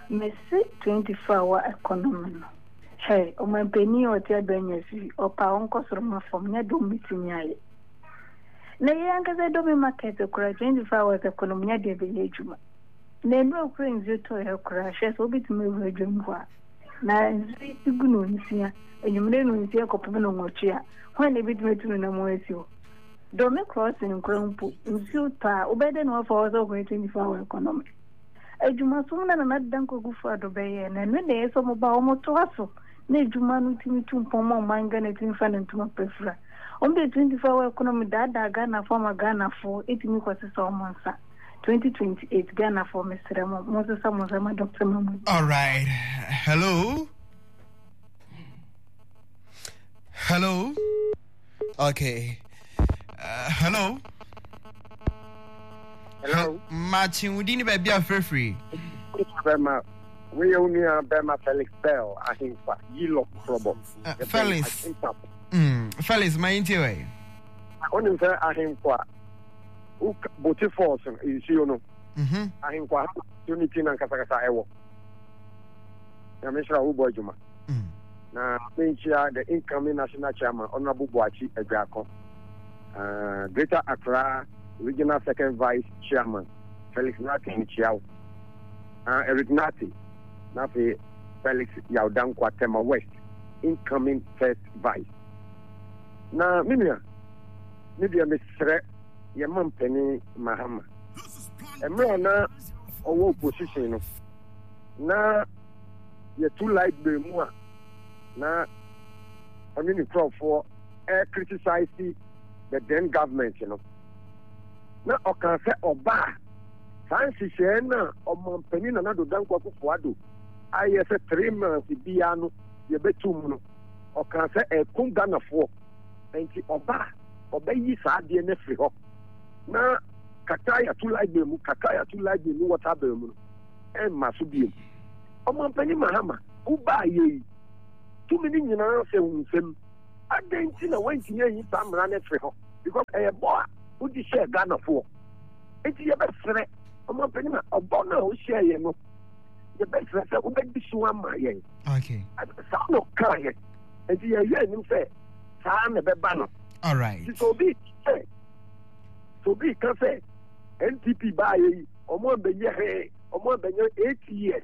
mese twenty-four hour economy no. Hey, ɔmampanin a ɔte abɛnya so yi, ɔpa a ɔnkɔ soro ma fam, nyɛ dɔm bɛtumi ayɛ. Na yɛn ankasa dɔm market koraa, twenty-four hours economy nyɛ deɛ bɛyɛ adwuma. Na nnura kura nsuo tɔ yɛ koraa, hwɛ sɛ wobɛtumi awura dwam hɔ a, na nsuo yi gu no nsia anwummerɛ no nsia kɔpem no nwɔtwe a, hwan na ebɛtumi atu no nam asi hɔ? Dome Crossing nkora mpo nsuo tɔ a, wobɛyɛ dɛ na wafa hɔ sɛ wokɔyɛ twenty-four hour economy adwumasom? Na Nana Dankwa Akufo-Addo bɛyɛ na ɛno na ɛyɛ sɛ ɔmo ba, ɔmo toa so na adwuma no tumi tu mpɔn ma ɔman Ghana tumi fa ne ntoma pɛfira. Ɔmo de twenty-four hour economy daadaa Ghanafoɔ ama Ghanafoɔ etumi kɔsesa ɔmo nsa twenty twenty-eight. Ghanafoɔ, mesrɛ mo, monsesa mo nsa ma Doctor Mahmood. All right. Hello. Hello. Okay. Uh, hello. Hello. Makye, wo din ne baabi a frɛfiri? Bɛma weyɛ wo nua bɛma Felix Bell Ahemfa Yilɔ Krɔbɔ. Uh, Felix. Mm, Felix, ma yɛntie wɛ. Wonim sɛ ahemfo a Bote Falls no nsuo no, Mhm. ahemfo ha nsuo no ti na nkasakasa ɛwɔ. Nyame hyira wo, wobɔ adwuma. Mm. Na menkyia the incoming national chairman, Honorable Boakye Aduako, uh, Greater Accra Regional second vice chairman Felix Nate, mekyia wo, uh, Eric Nate, na afei Felix Yawdankwa, Tema West incoming first vice. Na me nua, me deɛ mesrɛ yɛma mpanin Mahama, mmerɛ a na ɔwɔ opposition no na yɛtu light bill mu a, na ɔne ne nkurɔfoɔ ɛ criticize the then government no, na ɔka sɛ ɔbaa Saa nhyehyɛɛ no a Ɔmanpanin Nana Addo Dankwa Akufo-Addo ayɛ sɛ three months biara no yɛbɛto mu no, ɔkaa sɛ ɛko Ghanafoɔ nti ɔba a ɔbɛyi saa adeɛ no afiri hɔ na kakra yɛato light bill mu, kakra yɛato light bill ne water bill mu no ɛmma so biom. Ɔmanpanin Mahama, wobaayɛ yi, tumi no nyinaa hyɛ wo nsam. Adɛn nti na woantumi anyi saa mmara no afiri hɔ? Because ɛyɛ bɔ a wode hyɛɛ Ghanafoɔ. Nti yɛbɛsrɛ ɔmanpanin ma ɔbɔ no a wohyɛɛ yɛn no, yɛbɛsrɛ sɛ wobɛdi so ama yɛn. Okay. Saa na ɔkaa yɛn. Nti yɛhwɛ anim sɛ saa na ɛbɛba no. All right. Nti sɛ obi sɛ sɛ obi ka sɛ N P P baayɛ yi ɔmo abɛnyɛ hwee, ɔmo abɛnyɛ eight years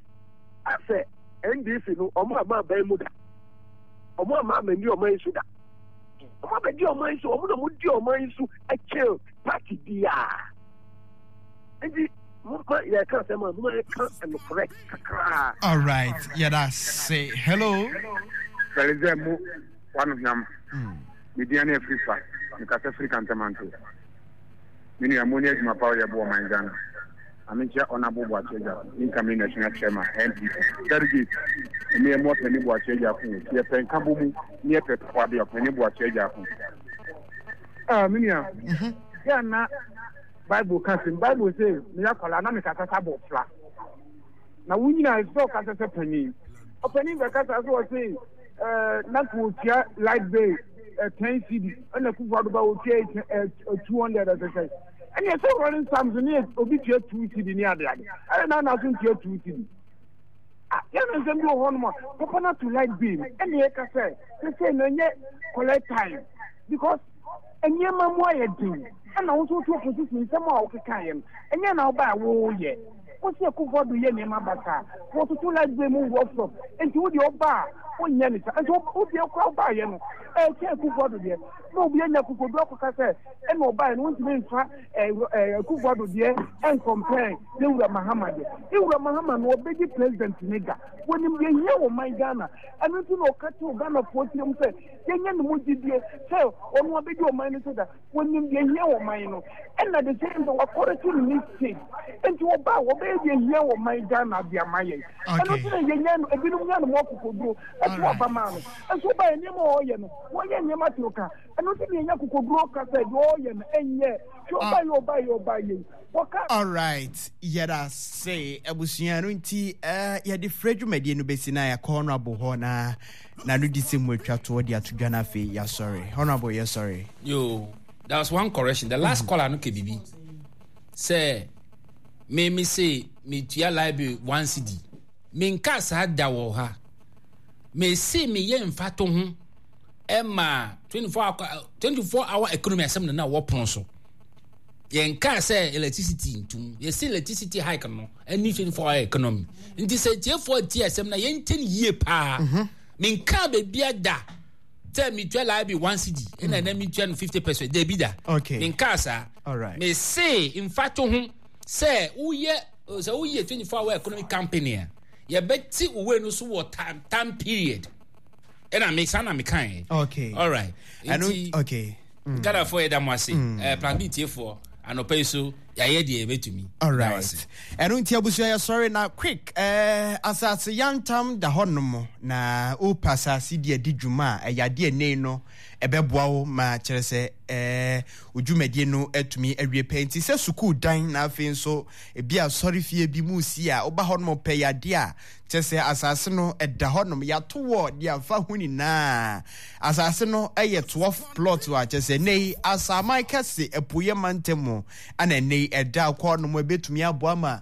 asɛ N D C no, ɔmo ama aban mu da, ɔmo ama amani ɔman yi so da, ɔmo abɛdi ɔman yi so, ɔmo na ɔmo di ɔman yi so ɛkyɛn party biara. Nti moma yɛka asɛm a, moma yɛka nokorɛ kakraa. All right, yɛda se. Hello. Sɛlezɛ mu wano hwam. Media ne afiri fa mekasa firi Kantamanto. Me nua mo ne adwuma pa ɔyɛ bo ɔman Ghana. Ame nkyia Honorable Boakye Agyarko, incoming national chairman N P P. Delegate, ɔmo yɛ mo ɔpɛni Boakye Agyarko o. Sɛ yɛpɛ nka bɔ mu ne yɛpɛ papa de ɔpɛni Boakye Agyarko. Ah, me nua, yɛ na Bible ka sɛm. Bible sɛ meyɛ akwadaa na mekasa sɛ abɔfra. Na wo nyinaa ɛsɛ sɛ ɔkasa sɛ panin. Ɔpanin bɛkasa sɛ ɔse ɛɛ na nka otua light bill ɛ ten cedi ɛna Akufo Addo ba otua ɛ two hundred ɛsɛ sɛ ɛna ɛsɛ rolling sums ne obi tua two cedi ne ade ade ɛna na na so ntua two cedi. Ah, yɛn no nsɛm bi wɔ hɔnom a papa no ato light bill ɛna yɛka sɛ sɛsɛ na ɛnyɛ collect time because nneɛma mu ayɛ den, ɛna wo nso wotu opposition nsɛm a wokeka yɛ no ɛnyɛ na woba a woyɛ wosi Akufo Addo yɛ nneɛma basaa, wɔtoto light bill mu rough rough, nti wo deɛ ɔba a wonyɛ ne sa, nti wo deɛ kora wobaayɛ no ɛkyɛn Akufo Addo deɛ, na obi anya akokodu akɔka sɛ ɛna ɔbaayɛ no wontumi nfa Akufo Addo deɛ ɛnkɔmpɛn ne wura Mahama deɛ. Ne wura Mahama no ɔbɛdi president ne da, wɔnim deɛ hia wɔ man Ghana, ɛno nti na ɔka kyerɛ Ghanafoɔ tirim sɛ yɛnyɛ ne mu gyidie sɛ ɔno abɛdi ɔman no so da. Wɔnim deɛ hia wɔ man no, ɛna the same thing wakɔrɛte ne mistake, nti ɔba a wɔbɛyɛ deɛ hia wɔ man Ghana de ama yɛn. Ɛno nti na yɛnya no, ebinom nya no mu akokoduro ɛto aba maa no, nso ɔba yɛ nneɛma a ɔyɛ no, wɔyɛ nneɛma toro ka, ɛno nti na yɛnya akokoduro ka sɛ deɛ ɔyɛ no ɛnyɛ hwɛ. Ɔba yɛ ɔba yɛ ɔba yɛ wɔka. Alright, yɛda se abusua no nti uh, yɛde frɛ dwumadie no bɛsi na yɛakɔ Honorable hɔ na na no di sɛ mu atwa toɔ de ato dwa no, afei yɛasɔre. Honorable, yɛsɔre. Yo, there was one correction. The last mm -hmm. caller no ke bibi sɛ me me se metua library one cedi. Menka saa da wɔ ha. Me se meyɛ mfato ho ɛma twenty-four hour twenty-four hour economy asɛm na na wɔpono so. Yɛnka sɛ electricity ntum, yɛsi electricity hike no ɛne twenty-four hour economy, nti sɛ tiefoɔ tie asɛm na yɛntie no yie paa. Menka baabi ada sɛ metua library one cedi ɛna ɛna metua no fifty percent, dabi da. Okay. Menka saa. Alright. Mese mfato ho sɛ woyɛ sɛ woyɛ twenty-four hour economy company a, yɛbɛte wo wei no so wɔ time time period, ɛna me saa na meka yɛ. Okay. Alright. Ɛno nti okay. Mm. Ghanafoɔ, yɛda mo ase. mm. Plan B tiefoɔ, anɔpa yi so yɛayɛ deɛ yɛbɛtumi. Alright, ɛno nti abusua yɛsɔre na quick eh, asase yantam da hɔnom na wopɛ asase di adi dwuma a ɛyɛ adeɛ nei no ɛbɛboa wo ma kyerɛ sɛ eh, wo dwumadie no atumi awie pɛ, nti sɛ sukuu dan na afei nso ebi asɔre fie bi mu si a, woba hɔnom pɛ yɛ adeɛ a kyerɛ sɛ asase no ɛda hɔnom, yɛato wɔ de afa ho nyinaa. Asase no ɛyɛ twelve plot a kyerɛ sɛ nnɛ yi Asaman Kɛse apueɛ mantam mu ana nnɛ yi ɛda kɔ hɔnom. Ɛbɛtumi aboa ma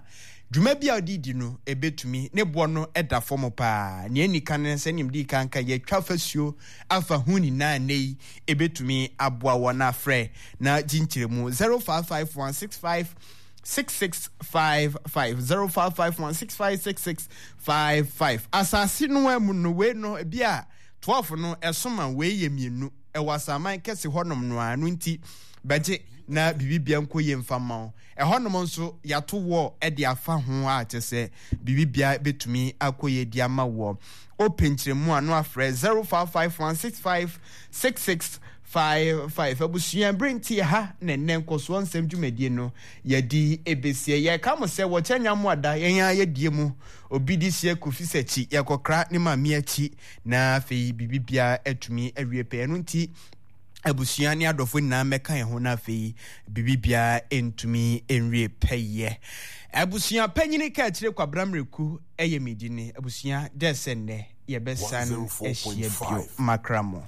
dwuma bi a ɔde di no ɛbɛtumi ne boɔ no ɛda fam paa. Nea ɛni kan no sɛ nea di kan ka yɛtwa fasuo afa ho nyinaa, nnɛ yi ɛbɛtumi aboa wɔn. Afrɛ na gye nkyerɛmu zero five five one six five six six five five, zero five five one six five six six five five. Asase no amu no wei no ebi a twelve no ɛsoma wei yɛ mmienu ɛwɔ Asaman Kɛse hɔnom no a no nti bɛgye na biribibia nkɔ yie mfa ma wo. Ɛhɔnom nso yɛato wɔ ɛde afa ho a kyɛ sɛ biribibia bɛtumi akɔ yie di ama wɔ. Wopɛ nkyerɛmu a no afrɛ zero five five one six five six six five five. Abusua, bere nti ha na ɛnnɛ nkɔsoɔ nsɛm dwumadie no yɛde ɛbɛsie. Yɛka mo sɛ wɔkyɛ nya mo ada yɛn ara yɛdie mu. Obi de hyia Kofi Sakyi, yɛkɔkra ne maame akyi na afei biribi biara atumi awie pɛ. Ɛno nti abusua ne adɔfo nyinaa mmɛka yɛn ho na afei biribi biara ntumi nwie pɛyɛ. Abusua panyini ka akyire Kwabena Mmireku yɛ me dini. Abusua, dɛ sɛ nnɛ yɛbɛsan ahyia bio. Makra mo.